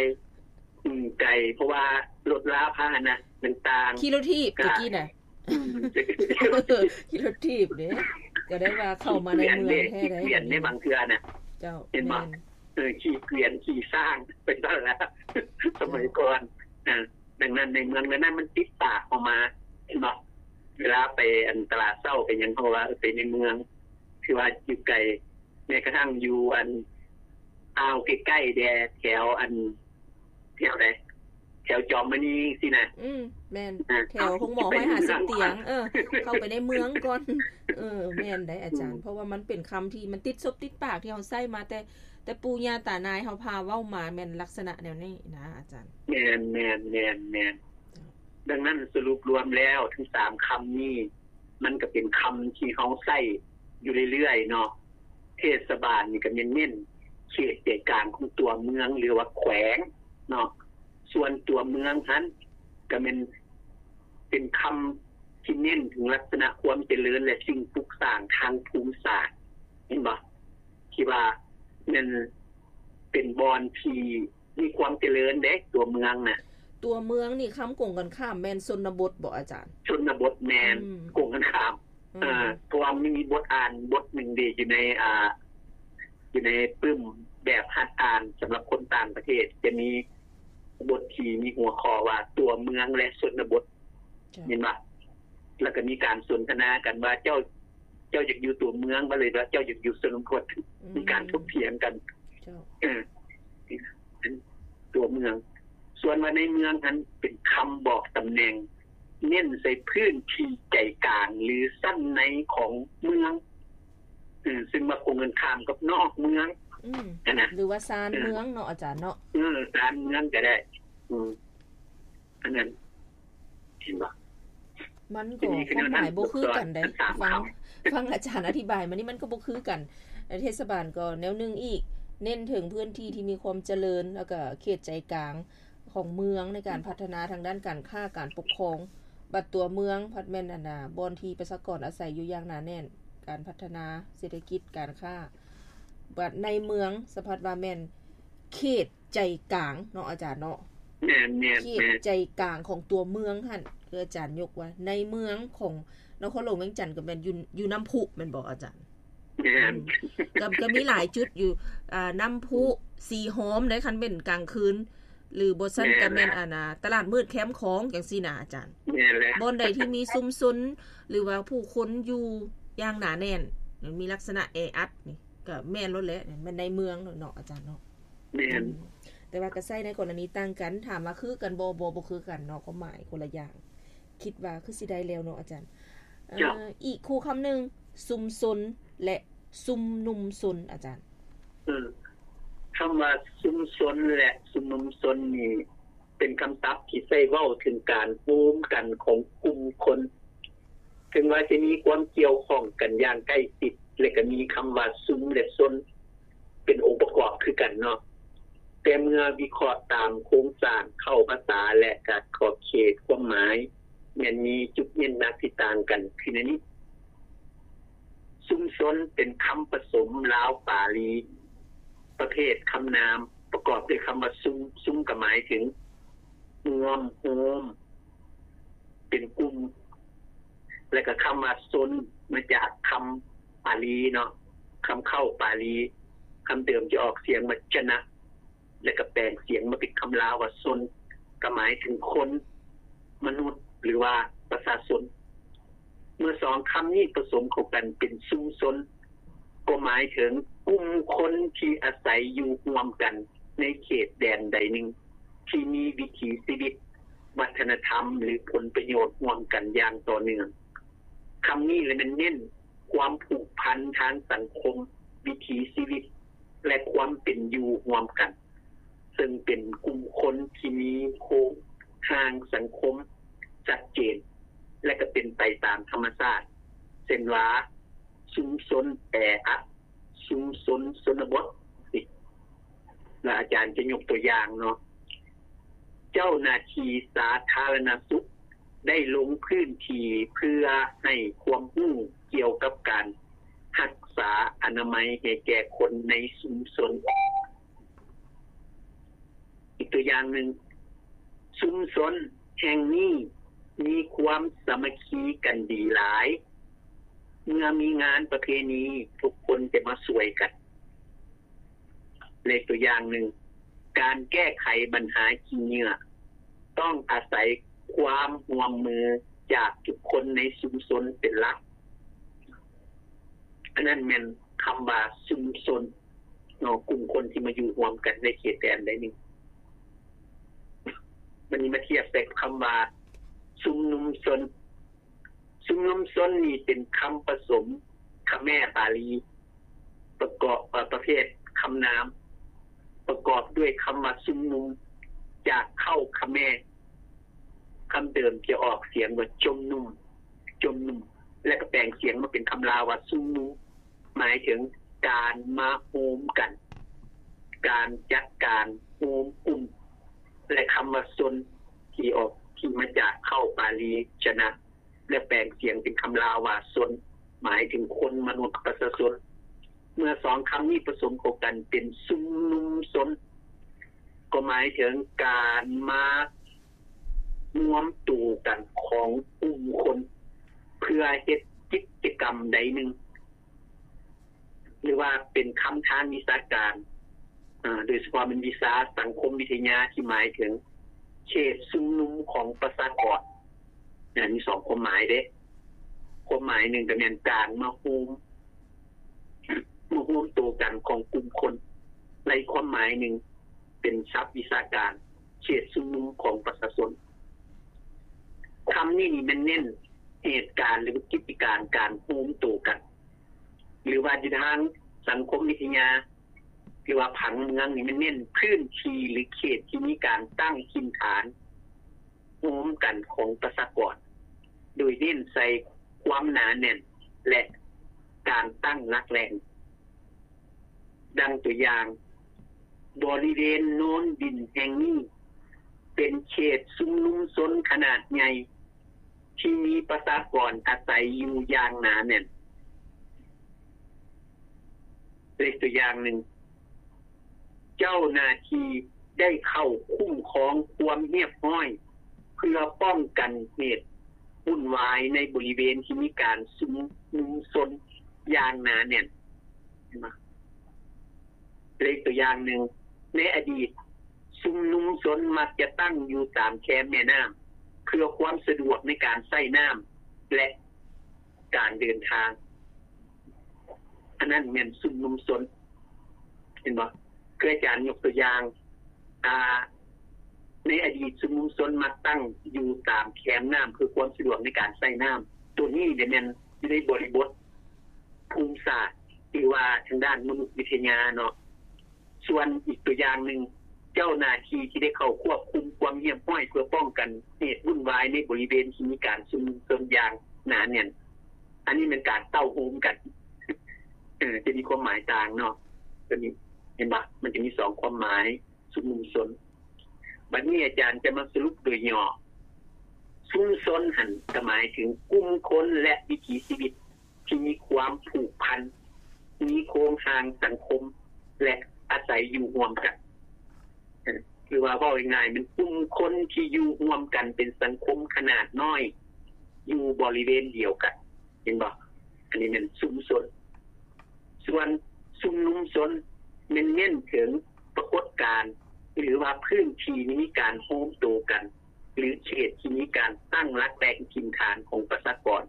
ອືມ ໄກ ເພາະວ່າລົດລາພາຫະນະຕ່າງໆ ຂີ່ລົດຖີບແຕ່ກີ້ນະ. ອືມ ຂີ່ລົດຖີບເດ້ ກໍໄດ້ວ່າເຂົ້າມາໃນເມືອງແທ້ໃດ໋ ເກວຽນເດ້ ບາງເທື່ອນະ. ເຈົ້າ ເຫັນບໍ່? ແມ່ນ ເອີ ຂີ່ເກວຽນ ຂີ່ຊ້າງ ໄປຊັ້ນລະ ສະໄໝກ່ອນ. ເອີ ດັ່ງນັ້ນໃນເມືອງນັ້ນມັນຕິດປາກເຮົາມາ ເຫັນບໍ່? ເວລາໄປ ອັນ ຕະຫຼາດເຊົ້າໄປຫຍັງ ເຮົາວ່າ ເອີ ໄປໃນເມືອງ ຄືວ່າຢູ່ໄກ ແມ້ກະທັ້ງຢູ່ ອັນ ອ່າວໃກ້ໆແດ່ ແຖວ ອັນ ແຖວໃດ ແຖວຈອມມະນີຊີ້ນະ. ອືມ ແມ່ນ ອ່າ ແຖວໂຮງໝໍຮ້ອຍຫ້າສິບຕຽງ. ເອີ ເຂົ້າໄປໃນເມືອງກ່ອນ. ເອີ ແມ່ນໄດ໋ອາຈານ ອືມ ເພາະວ່າມັນເປັນຄຳທີ່ມັນຕິດສົບຕິດປາກ ທີ່ເຮົາໃຊ້ມາແຕ່ ແຕ່ປູ່ຍ່າຕານາຍເຮົາພາເວົ້າມາ ແມ່ນລັກສະນະແນວນີ້ນະອາຈານ. ແມ່ນໆໆໆ ເຈົ້າ ດັ່ງນັ້ນສະຫຼຸບລວມແລ້ວ ທັງສາມຄຳນີ້ ມັນກໍເປັນຄຳທີ່ເຮົາໃຊ້ຢູ່ເລື້ອຍໆເນາະ. ເທດສະບານນີ້ກໍແມ່ນເນັ້ນເຂດໃຈກາງຂອງຕົວເມືອງ ຫຼືວ່າແຂວງເນາະ. ສ່ວນຕົວເມືອງຫັ້ນກໍແມ່ນເປັນຄຳ ທີ່ເນັ້ນເຖິງລັກສະນະຄວາມຈະເລີນ ແລະ ສິ່ງປຸກສ້າງທາງພູມສາດ ເຫັນບໍ່? ທີ່ວ່າແມ່ນເປັນບ່ອນທີ່ມີຄວາມຈະເລີນເດ້ ຕົວເມືອງນະ. ຕົວເມືອງນີ້ຄຳກົງກັນຂ້າມແມ່ນຊົນນະບົດບໍ່ອາຈານ? ຊົນນະບົດແມ່ນ ອືມ ກົງກັນຂ້າມ. ອືມ ເອີ ເພາະວ່າມັນມີບົດອ່ານບົດໜຶ່ງເດ້ ຢູ່ໃນ ອ່າ ຢູ່ໃນປຶ້ມແບບຫັດອ່ານສຳລັບຄົນຕ່າງປະເທດ ຈະມີບົດທີ່ມີຫົວຂໍ້ວ່າ ຕົວເມືອງ ແລະ ຊົນນະບົດ. ເຈົ້າ ແມ່ນບໍ່? ແລ້ວກໍມີການສົນທະນາກັນວ່າ ເຈົ້າ ເຈົ້າຢາກຢູ່ຕົວເມືອງບໍ່ ຫຼືວ່າເຈົ້າຢາກຢູ່ຊົນນະບົດ? ອືມ ມີການຖົກຖຽງກັນ. ເຈົ້າ ເອີ ຕົວເມືອງ. ສ່ວນວ່າໃນເມືອງຫັ້ນເປັນຄຳບອກຕຳແໜ່ງ ເນັ້ນໃສ່ພື້ນທີ່ໃຈກາງ ຫຼື ຊັ້ນໃນຂອງເມືອງ ເອີ ຊຶ່ງວ່າກົງກັນຂ້າມກັບນອກເມືອງ ອືມ ຫັ້ນນະ ຫຼືວ່າຊານເມືອງເນາະອາຈານເນາະ. ເອີ ຊານເມືອງກໍໄດ້. ອືມ ອັນນັ້ນ ເຫັນບໍ່? ມັນກໍຄວາມໝາຍບໍ່ຄືກັນເດ້. ຟັງ ຟັງອາຈານອະທິບາຍມານີ້ ມັນກໍບໍ່ຄືກັນ. ເທດສະບານກໍແນວໜຶ່ງອີກ ເນັ້ນເຖິງພື້ນທີ່ທີ່ມີຄວາມຈະເລີນ ແລ້ວກໍເຂດໃຈກາງຂອງເມືອງໃນການພັດທະນາທາງດ້ານການຄ້າການປົກຄອງ. ບັດຕົວເມືອງພັດແມ່ນ ອັນນ່າ ບ່ອນທີ່ປະຊາກອນອາໄສຢູ່ຢ່າງໜາແໜ້ນ, ການພັດທະນາເສດຖະກິດ, ການຄ້າ. ບັດໃນເມືອງສະພັດວ່າແມ່ນເຂດ ໃຈກາງເນາະອາຈານເນາະ. ແມ່ນໆໆ ເຂດໃຈກາງຂອງຕົວເມືອງຫັ້ນ ຄືອາຈານຍົກວ່າໃນເມືອງຂອງນະຄອນຫຼວງວຽງຈັນກໍແມ່ນຢູ່ ຢູ່ນ້ຳພຸແມ່ນບໍ່ອາຈານ? ແມ່ນ ອືມ ກໍ ກໍມີຫຼາຍຈຸດຢູ່ ອ່າ ນ້ຳພຸ ສີຫອມໃດ໋ ຄັນແມ່ນກາງຄືນ ຫຼືບໍ່ຊັ້ນກໍແມ່ນ ແມ່ນແຫຼະ ອັນນ່າ ຕະຫຼາດມືດແຄມຂອງ ຈັ່ງຊີ້ນະອາຈານ. ແມ່ນແຫຼະ ບ່ອນໃດທີ່ມີຊຸມຊົນ ຫຼືວ່າຜູ້ຄົນຢູ່ຢ່າງໜາແໜ້ນ ມີລັກສະນະແອອັດນີ້ ກໍແມ່ນໂລດແຫຼະ ແມ່ນໃນເມືອງໂລດເນາະອາຈານເນາະ. ແມ່ນ ອືມ ແຕ່ວ່າກໍໃຊ້ໃນກໍລະນີຕ່າງກັນ. ຖາມວ່າຄືກັນບໍ່? ບໍ່ ບໍ່ຄືກັນເນາະ ຄວາມໝາຍຄົນລະຢ່າງ. ຄິດວ່າຄືຊິໄດ້ແລ້ວເນາະອາຈານ. ເຈົ້າ ເອີ ອີກຄູ່ຄຳໜຶ່ງ ຊຸມຊົນ ແລະ ຊຸມນຸມຊົນ ອາຈານ. ເອີ ຄຳວ່າຊຸມຊົນ ແລະ ຊຸມນຸມຊົນນີ້ ເປັນຄຳສັບທີ່ໃຊ້ເວົ້າເຖິງການໂຮມກັນຂອງກຸ່ມຄົນ ເຖິງວ່າຈະມີຄວາມກ່ຽວຂ້ອງກັນຢ່າງໃກ້ຊິດ ແລະ ກໍມີຄຳວ່າຊຸມ ແລະ ຊົນ ເປັນອົງປະກອບຄືກັນເນາະ, ແຕ່ເມື່ອວິເຄາະຕາມໂຄງສ້າງເຄົ້າພາສາ ແລະ ການຂອບເຂດຄວາມໝາຍ ແມ່ນມີຈຸດເນັ້ນໜັກທີ່ຕ່າງກັນຄືແນວນີ້. ຊຸມຊົນເປັນຄຳປະສົມລາວປາລີ ປະເພດຄຳນາມ ປະກອບດ້ວຍຄຳວ່າຊຸມ, ຊຸມກໍໝາຍເຖິງຮ່ວມ, ໂຮມ, ເປັນກຸ່ມ ແລະ ກໍຄຳວ່າຊົນ ມາຈາກຄຳປາລີເນາະ, ຄຳເຄົ້າປາລີ ຄຳເດີມຈະອອກສຽງວ່າຈະນະ ແລະ ກໍແປງສຽງມາເປັນຄຳລາວວ່າຊົນ ກໍໝາຍເຖິງຄົນ, ມະນຸດ ຫຼືວ່າປະຊາຊົນ. ເມື່ອສອງຄຳນີ້ປະສົມເຂົ້າກັນເປັນຊຸມຊົນ ກໍໝາຍເຖິງກຸ່ມຄົນທີ່ອາໄສຢູ່ຮ່ວມກັນໃນເຂດແດນໃດໜຶ່ງ ທີ່ມີວິຖີຊີວິດ, ວັດທະນະທຳ ຫຼື ຜົນປະໂຫຍດຮ່ວມກັນຢ່າງຕໍ່ເນື່ອງ. ຄຳນີ້ລະແມ່ນເນັ້ນຄວາມຜູກພັນທາງສັງຄົມ, ວິຖີຊີວິດ ແລະ ຄວາມເປັນຢູ່ຮ່ວມກັນ, ເຊິ່ງເປັນກຸ່ມຄົນທີ່ມີໂຄງຮ່າງສັງຄົມຊັດເຈນ ແລະ ກໍເປັນໄປຕາມທຳມະຊາດ, ເຊັ່ນວ່າ ຊຸມຊົນແອອັດ, ຊຸມຊົນຊົນນະບົດ ແລະ ອາຈານຈະຍົກຕົວຢ່າງເນາະ, ເຈົ້າໜ້າທີ່ສາທາລະນະສຸກ ໄດ້ລົງພື້ນທີ່ເພື່ອໃຫ້ຄວາມຮູ້ກ່ຽວກັບການຮັກສາອະນາໄມໃຫ້ແກ່ຄົນໃນຊຸມຊົນ. ອີກຕົວຢ່າງໜຶ່ງ, ຊຸມຊົນແຫ່ງນີ້ມີຄວາມສາມັກຄີກັນດີຫຼາຍ, ເມື່ອມີງານປະເພນີ ທຸກຄົນຈະມາຊ່ວຍກັນ. ແລະ ຕົວຢ່າງໜຶ່ງ, ການແກ້ໄຂບັນຫາຂີ້ເຫຍື້ອ ຕ້ອງອາໄສຄວາມຮ່ວມມືຈາກທຸກຄົນໃນຊຸມຊົນເປັນຫຼັກ. ອັນນັ້ນແມ່ນຄຳວ່າຊຸມຊົນເນາະ, ກຸ່ມຄົນທີ່ມາຢູ່ຮ່ວມກັນໃນເຂດແດນໃດໜຶ່ງ. ບັດນີ້ມາທຽບໃສ່ກັບຄຳວ່າຊຸມນຸມຊົນ. ຊຸມນຸມຊົນນີ້ເປັນຄຳປະສົມຂະແມປາລີ ປະກອບ, ເອີ, ປະເພດຄຳນາມ ປະກອບດ້ວຍຄຳວ່າຊຸມນຸມ ຈາກເຄົ້າຂະແມ ຄຳເດີມຈະອອກສຽງວ່າຈົມນຸມ, ຈົມນຸມ ແລະ ກໍແປງສຽງມາເປັນຄຳລາວວ່າຊຸມນຸມ ໝາຍເຖິງການມາໂຮມກັນ, ການຈັດການໂຮມກຸ່ມ ແລະ ຄຳວ່າຊົນ ທີ່ອອກ, ທີ່ມາຈາກເຄົ້າປາລີ ຈະນະ ແລະແປງສຽງເປັນຄຳລາວວ່າຊົນ ໝາຍເຖິງຄົນ, ມະນຸດ, ປະຊາຊົນ. ເມື່ອສອງຄຳນີ້ປະສົມເຂົ້າກັນເປັນຊຸມນຸມຊົນ ກໍໝາຍເຖິງການມາ ລວມໂຕກັນຂອງກຸ່ມຄົນ ເພື່ອເຮັດກິດຈະກຳໃດໜຶ່ງ ຫຼືວ່າເປັນຄຳທາງວິຊາການ ໂດຍສະເພາະແມ່ນວິຊາສັງຄົມວິທະຍາ ທີ່ໝາຍເຖິງເຂດຊຸມນຸມຂອງປະຊາກອນ. ມີສອງຄວາມໝາຍເດ້. ຄວາມໝາຍໜຶ່ງກໍແມ່ນການມາໂຮມ ມາໂຮມໂຕກັນຂອງກຸ່ມຄົນ ແລະອີກຄວາມໝາຍໜຶ່ງເປັນສັບວິຊາການ ເຂດຊຸມນຸມຂອງປະຊາຊົນ. ຄຳນີ້ນີ້ແມ່ນເນັ້ນເຫດການ ຫຼືກິດຈະການການໂຮມໂຕກັນ ຫຼືວ່າຢູ່ທາງສັງຄົມວິທະຍາ ຫຼືວ່າຜັງເມືອງນີ້ແມ່ນເນັ້ນພື້ນທີ່ ຫຼືເຂດທີ່ມີການຕັ້ງຖິ່ນຖານ ໂຮມກັນຂອງປະຊາກອນ ໂດຍເນັ້ນໃສ່ຄວາມໜາແໜ້ນ ແລະ ການຕັ້ງຫຼັກແຫຼ່ງ. ດັ່ງຕົວຢ່າງ, ບໍລິເວນໂນນດິນແຫ່ງນີ້ ເປັນເຂດຊຸມນຸມຊົນຂະໜາດໃຫຍ່ ທີ່ມີປະຊາກອນອາໄສຢູ່ຢ່າງໜາແໜ້ນ. ເປັນຕົວຢ່າງໜຶ່ງ, ເຈົ້າໜ້າທີ່ໄດ້ເຂົ້າຄຸ້ມຄອງຄວາມຮຽບຮ້ອຍ ເພື່ອປ້ອງກັນເຫດວຸ່ນວາຍໃນບໍລິເວນທີ່ມີການຊຸມນຸມຊົນຢ່າງໜາແໜ້ນ. ເຫັນບໍ່? ເປັນຕົວຢ່າງໜຶ່ງ, ໃນອະດີດຊຸມນຸມຊົນມັກຈະຕັ້ງຢູ່ຕາມແຄມແມ່ນ້ຳ ເພື່ອຄວາມສະດວກໃນການໃຊ້ນ້ຳ ແລະ ການເດີນທາງ. ອັນນັ້ນແມ່ນຊຸມນຸມຊົນ ເຫັນບໍ່? ຄືອາຈານຍົກຕົວຢ່າງ ອາ ໃນອະດີດຊຸມນຸມຊົນມັກຕັ້ງຢູ່ຕາມແຄມນ້ຳ ເພື່ອຄວາມສະດວກໃນການໃຊ້ນ້ຳ. ໂຕນີ້ແມ່ນຢູ່ໃນບໍລິບົດພູມສາດ ຫຼືວ່າທາງດ້ານມະນຸດວິທະຍາເນາະ. ສ່ວນອີກຕົວຢ່າງໜຶ່ງ, ເຈົ້າໜ້າທີ່ທີ່ໄດ້ເຂົ້າຄວບຄຸມຄວາມຮຽບຮ້ອຍ ເພື່ອປ້ອງກັນເຫດວຸ່ນວາຍໃນບໍລິເວນທີ່ມີການຊຸມນຸມຊົນຢ່າງໜາແໜ້ນ. ອັນນີ້ແມ່ນການເຕົ້າໂຮມກັນ ເອີ ຈະມີຄວາມໝາຍຕ່າງເນາະ. ຕົວນີ້ ເຫັນບໍ່? ມັນຈະມີສອງຄວາມໝາຍ ຊຸມນຸມຊົນ. ບັດນີ້ອາຈານຈະມາສະຫຼຸບໂດຍຫຍໍ້. ຊຸມຊົນຫັ້ນກໍໝາຍເຖິງກຸ່ມຄົນ ແລະ ວິຖີຊີວິດ ທີ່ມີຄວາມຜູກພັນ, ມີໂຄງຮ່າງສັງຄົມ ແລະ ອາໄສຢູ່ຮ່ວມກັນ. ເອີ ຫຼືວ່າເວົ້າງ່າຍໆ ແມ່ນກຸ່ມຄົນທີ່ຢູ່ຮ່ວມກັນເປັນສັງຄົມຂະໜາດນ້ອຍ ຢູ່ບໍລິເວນດຽວກັນ. ເຫັນບໍ່? ອັນນີ້ແມ່ນຊຸມຊົນ. ສ່ວນຊຸມນຸມຊົນແມ່ນເນັ້ນເຖິງປາກົດການ ຫຼືວ່າພື້ນທີ່ທີ່ມີການໂຮມໂຕກັນ ຫຼືເຂດທີ່ມີການຕັ້ງຫຼັກແຫຼ່ງຖິ່ນຖານຂອງປະຊາກອນ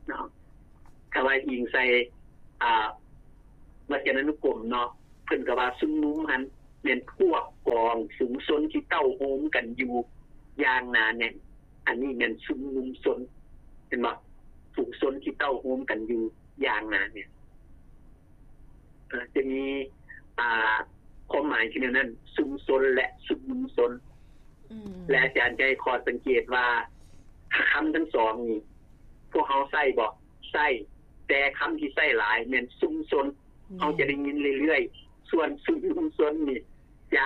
ເນາະ. ຖ້າວ່າອີງໃສ່ ອາ ວັດຈະນານຸກົມເນາະ ເພິ່ນກໍວ່າຊຸມນຸມຫັ້ນແມ່ນພວກກອງຝູງຊົນທີ່ເຕົ້າໂຮມກັນຢູ່ຢ່າງໜາແໜ້ນ. ອັນນີ້ແມ່ນຊຸມນຸມຊົນ ເຫັນບໍ່? ຝູງຊົນທີ່ເຕົ້າໂຮມກັນຢູ່ຢ່າງໜາແໜ້ນ. ອາ ຈະມີ ອາ ຄວາມໝາຍທີ່ແນວນັ້ນ ຊຸມຊົນ ແລະ ຊຸມນຸມຊົນ. ອືມ ແລະ ອາຈານຈະໃຫ້ຂໍ້ສັງເກດວ່າ ຄຳທັງສອງນີ້ ພວກເຮົາໃຊ້ບໍ່? ໃຊ້, ແຕ່ຄຳທີ່ໃຊ້ຫຼາຍແມ່ນຊຸມຊົນ. ແມ່ນ. ເຮົາຈະໄດ້ຍິນເລື້ອຍໆ. ສ່ວນຊຸມນຸມຊົນນີ້ຈະ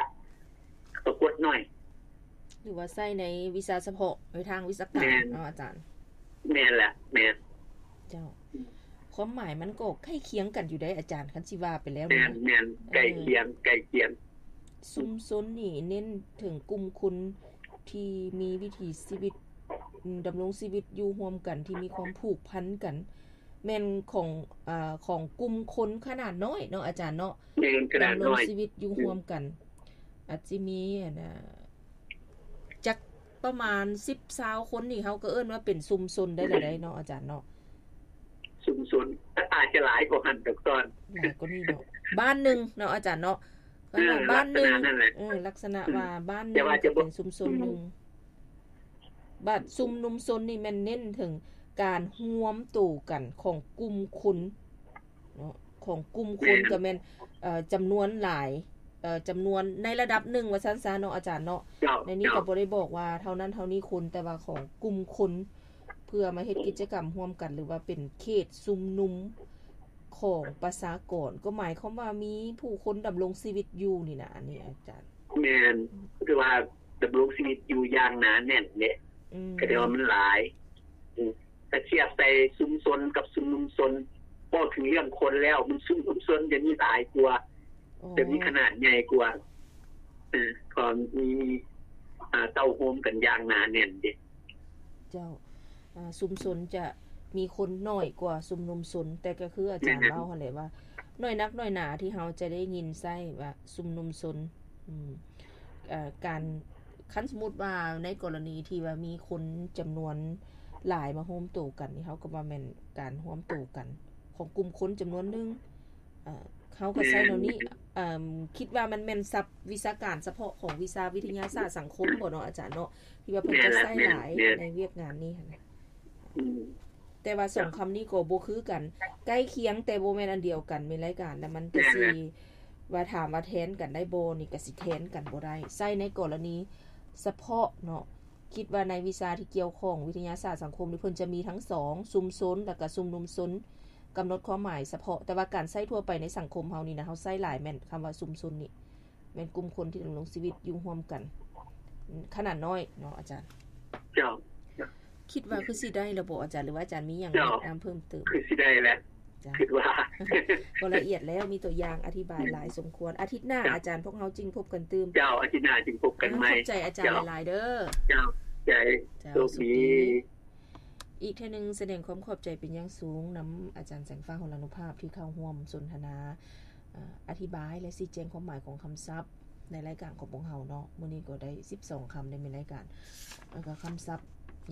ປາກົດໜ້ອຍ ຫຼືວ່າໃຊ້ໃນວິຊາສະເພາະ ໃນທາງວິຊາການ. ແມ່ນ ເນາະອາຈານ? ແມ່ນແຫຼະ ແມ່ນ. ເຈົ້າ. ຄວາມໝາຍມັນກໍໃກ້ຄຽງກັນຢູ່ເດ້ອາຈານ ຄັນຊິວ່າໄປແລ້ວ. ແມ່ນ ແມ່ນ. ເອີ ໃກ້ຄຽງ ໃກ້ຄຽງ. ຊຸມຊົນນີ້ເນັ້ນເຖິງກຸ່ມຄົນທີ່ມີວິຖີຊີວິດ ອາ ດຳລົງຊີວິດຢູ່ຮ່ວມກັນ ທີ່ມີຄວາມຜູກພັນກັນ ແມ່ນຂອງ ອາ ຂອງກຸ່ມຄົນຂະໜາດນ້ອຍເນາະອາຈານເນາະ. ແມ່ນ ຂະໜາດນ້ອຍ ດຳລົງຊີວິດຢູ່ ອືມ ຮ່ວມກັນ. ອາດຊິມີ ອັນນ່າ ຈັກປະມານສິບ ຊາວຄົນນີ້ ເຮົາກໍເອີ້ນວ່າເປັນຊຸມຊົນໄດ້ລະໄດ໋ເນາະອາຈານເນາະ. ຊຸມຊົນ ອາດຈະຫຼາຍກວ່າຫັ້ນດອກຕອນ ຫຼາຍກວ່ານີ້ເນາະ. ບ້ານໜຶ່ງເນາະອາຈານເນາະ. ເອີ ບ້ານໜຶ່ງ ລັກສະນະນັ້ນແຫຼະ. ເອີ ລັກສະນະວ່າ ອືມ ບ້ານໜຶ່ງ ແຕ່ວ່າຈະເປັນຊຸມຊົນໜຶ່ງ. ບັດຊຸມນຸມຊົນນີ້ແມ່ນເນັ້ນເຖິງການຮວມໂຕກັນຂອງກຸ່ມຄົນເນາະ ຂອງກຸ່ມຄົນ. ແມ່ນ. ກໍແມ່ນ ເອີ ຈຳນວນຫຼາຍ ເອີ ຈຳນວນໃນລະດັບໜຶ່ງວ່າຊັ້ນຊະເນາະອາຈານເນາະ. ເຈົ້າ. ໃນນີ້ກໍບໍ່ໄດ້ບອກວ່າເທົ່ານັ້ນເທົ່ານີ້ຄົນ ແຕ່ວ່າຂອງກຸ່ມຄົນ ເພື່ອມາເຮັດກິດຈະກຳຮ່ວມກັນ ຫຼືວ່າເປັນເຂດຊຸມນຸມຂອງປະຊາກອນ ກໍໝາຍຄວາມວ່າມີຜູ້ຄົນດຳລົງຊີວິດຢູ່ນີ້ນະ ອັນນີ້ອາຈານ. ແມ່ນ ຄືວ່າດຳລົງຊີວິດຢູ່ຢ່າງໜາແໜ້ນເດ້. ອືມ ກໍແຕ່ວ່າມັນຫຼາຍ ອືມ ກະທຽບໃສ່ຊຸມຊົນກັບຊຸມນຸມຊົນ ເວົ້າເຖິງເລື່ອງຄົນແລ້ວ ມັນຊຸມນຸມຊົນຈະມີຫຼາຍກວ່າ ໂອ້ ຈະມີຂະໜາດໃຫຍ່ກວ່າ ເອີ ເພາະມີ ເຕົ້າໂຮມກັນຢ່າງໜາແໜ້ນເດ້. ເຈົ້າ ຊຸມຊົນຈະມີຄົນໜ້ອຍກວ່າຊຸມນຸມຊົນ ແຕ່ກໍຄືອາຈານເວົ້າຫັ້ນແຫຼະວ່າ ໜ້ອຍນັກໜ້ອຍໜາທີ່ເຮົາຈະໄດ້ຍິນໃຊ້ວ່າຊຸມນຸມຊົນ ອືມ ເອີ ການ ຄັນສົມມຸດວ່າໃນກໍລະນີທີ່ວ່າມີຄົນຈຳນວນຫຼາຍມາໂຮມໂຕກັນນີ້ ເຮົາກໍວ່າແມ່ນການຮວມໂຕກັນຂອງກຸ່ມຄົນຈຳນວນໜຶ່ງ ເອີ ເຮົາກໍໃຊ້ແນວນີ້ ເອີ ຄິດວ່າມັນແມ່ນສັບວິຊາການສະເພາະຂອງວິຊາວິທະຍາສາດສັງຄົມບໍເນາະອາຈານເນາະ ທີ່ວ່າເພິ່ນຈະໃຊ້ຫຼາຍໃນວຽກງານນີ້ຫັ້ນນະ. ອືມ ແຕ່ວ່າສອງຄຳນີ້ກໍບໍ່ຄືກັນ ໃກ້ຄຽງແຕ່ບໍ່ແມ່ນອັນດຽວກັນ ແມ່ນລາຍການ ແລ້ວມັນກະຊິວ່າຖາມວ່າແທນກັນໄດ້ບໍ່ນີ້ ກະຊິແທນກັນບໍ່ໄດ້ ໃຊ້ໃນກໍລະນີສະເພາະເນາະ. ຄິດວ່າໃນວິຊາທີ່ກ່ຽວຂ້ອງວິທະຍາສາດສັງຄົມນີ້ ເພິ່ນຈະມີທັງສອງ ຊຸມຊົນ ແລ້ວກະຊຸມນຸມຊົນ ກຳນົດຄວາມໝາຍສະເພາະ ແຕ່ວ່າການໃຊ້ທົ່ວໄປໃນສັງຄົມເຮົານີ້ນະ ເຮົາໃຊ້ຫຼາຍແມ່ນຄຳວ່າຊຸມຊົນນີ້ ແມ່ນກຸ່ມຄົນທີ່ດຳລົງຊີວິດຢູ່ຮ່ວມກັນຂະໜາດນ້ອຍເນາະອາຈານ. ເຈົ້າ ຄິດວ່າຄືຊິໄດ້ແລ້ວບໍອາຈານ ຫຼືວ່າອາຈານມີຫຍັງແນະນຳເພີ່ມເຕີມ? ຄືຊິໄດ້ແລ້ວ ຄິດວ່າ ກໍລະອຽດແລ້ວ ມີຕົວຢ່າງອະທິບາຍຫຼາຍສົມຄວນ. ອາທິດໜ້າອາຈານ ພວກເຮົາຈຶ່ງພົບກັນຕື່ມ. ເຈົ້າ ອາທິດໜ້າຈຶ່ງພົບກັນໃໝ່. ຂອບໃຈອາຈານຫຼາຍໆເດີ. ເຈົ້າ ໃຈ ໂຊກດີ. ອີກເທື່ອໜຶ່ງສະແດງຄວາມຂອບໃຈເປັນຢ່າງສູງນຳອາຈານແສງຟ້າ ຫົລານຸພາບ ທີ່ເຂົ້າຮ່ວມສົນທະນາ ອາ ອະທິບາຍ ແລະ ຊີ້ແຈງຄວາມໝາຍຂອງຄຳສັບໃນລາຍການຂອງພວກເຮົາເນາະ. ມື້ນີ້ກໍໄດ້ສິບສອງຄຳ ໄດ້ແມ່ນລາຍການ ແລ້ວກໍຄຳສັບ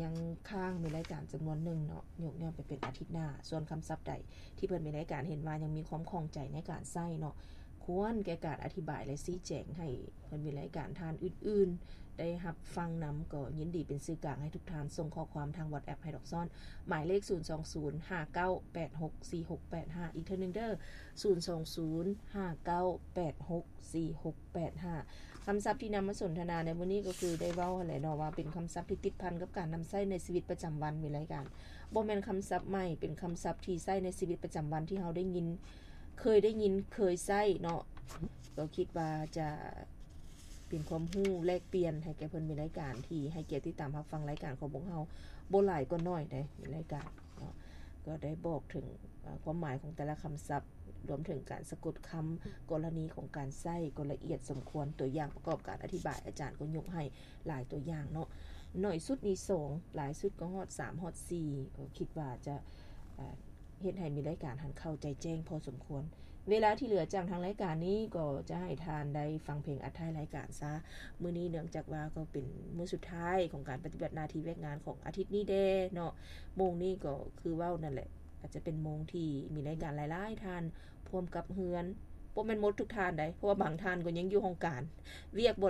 ຍັງຄ້າງແມ່ນລາຍການຈຳນວນໜຶ່ງເນາະ ຍົກຍ້ອນໄປເປັນອາທິດໜ້າ. ສ່ວນຄຳສັບໃດທີ່ເພິ່ນແມ່ນລາຍການເຫັນວ່າຍັງມີຄວາມຂ້ອງໃຈໃນການໃຊ້ເນາະ ຄວນແກ່ການອະທິບາຍ ແລະ ຊີ້ແຈງໃຫ້ເພິ່ນແມ່ນລາຍການທ່ານອື່ນໆ ໄດ້ຮັບຟັງນຳ ກໍຍິນດີເປັນສື່ກາງໃຫ້ທຸກທ່ານສົ່ງຂໍ້ຄວາມທາງ WhatsApp ໃຫ້ດອກຊ້ອນ ໝາຍເລກ ສູນສອງສູນ ຫ້າເກົ້າແປດຫົກ ສີ່ຫົກແປດຫ້າ ອີກເທື່ອໜຶ່ງເດີ ສູນສອງສູນ ຫ້າເກົ້າແປດຫົກ ສີ່ຫົກແປດຫ້າ. ຄຳສັບທີ່ນຳມາສົນທະນາໃນມື້ນີ້ກໍຄືໄດ້ເວົ້າຫັ້ນແຫຼະເນາະ ວ່າເປັນຄຳສັບທີ່ຕິດພັນກັບການນຳໃຊ້ໃນຊີວິດປະຈຳວັນ ມີລາຍການ ບໍ່ແມ່ນຄຳສັບໃໝ່ ເປັນຄຳສັບທີ່ໃຊ້ໃນຊີວິດປະຈຳວັນທີ່ເຮົາໄດ້ຍິນ ເຄີຍໄດ້ຍິນ ເຄີຍໃຊ້ເນາະ. ກໍຄິດວ່າຈະ ເປັນຄວາມຮູ້ແລກປ່ຽນໃຫ້ແກ່ເພິ່ນ ມີລາຍການທີ່ໃຫ້ກຽດຕິດຕາມຮັບຟັງລາຍການຂອງພວກເຮົາ ບໍ່ຫຼາຍກໍໜ້ອຍໃດ໋ ມີລາຍການເນາະ ກໍໄດ້ບອກເຖິງ ເອີ ຄວາມໝາຍຂອງແຕ່ລະຄຳສັບ ລວມເຖິງການສະກົດຄຳ ກໍລະນີຂອງການໃຊ້ກໍລະອຽດສົມຄວນ ຕົວຢ່າງປະກອບການອະທິບາຍ ອາຈານກໍຍົກໃຫ້ຫຼາຍຕົວຢ່າງເນາະ ໜ້ອຍສຸດນີ້ສອງ ຫຼາຍສຸດກໍຮອດສາມຮອດສີ່ ກໍຄິດວ່າຈະ ເອີ ເຮັດໃຫ້ມີລາຍການຫັ້ນເຂົ້າໃຈແຈ້ງພໍສົມຄວນ. ເວລາທີ່ເຫຼືອຈາກທາງລາຍການນີ້ກໍຈະໃຫ້ທ່ານໄດ້ຟັງເພງອັດທ້າຍລາຍການຊະ. ມື້ນີ້ເນື່ອງຈາກວ່າກໍເປັນມື້ສຸດທ້າຍຂອງການປະຕິບັດໜ້າທີ່ວຽກງານຂອງອາທິດນີ້ແດ່ເນາະ. ໂມງນີ້ກໍຄືເວົ້ານັ້ນແຫຼະ ອາດຈະເປັນໂມງທີ່ມີລາຍການຫຼາຍໆທ່ານພວມກັບເຮືອນ. ບໍ່ແມ່ນໝົດທຸກທ່ານໃດ໋ ເພາະວ່າບາງທ່ານກໍຍັງຢູ່ຫ້ອງການ ວຽກບໍ່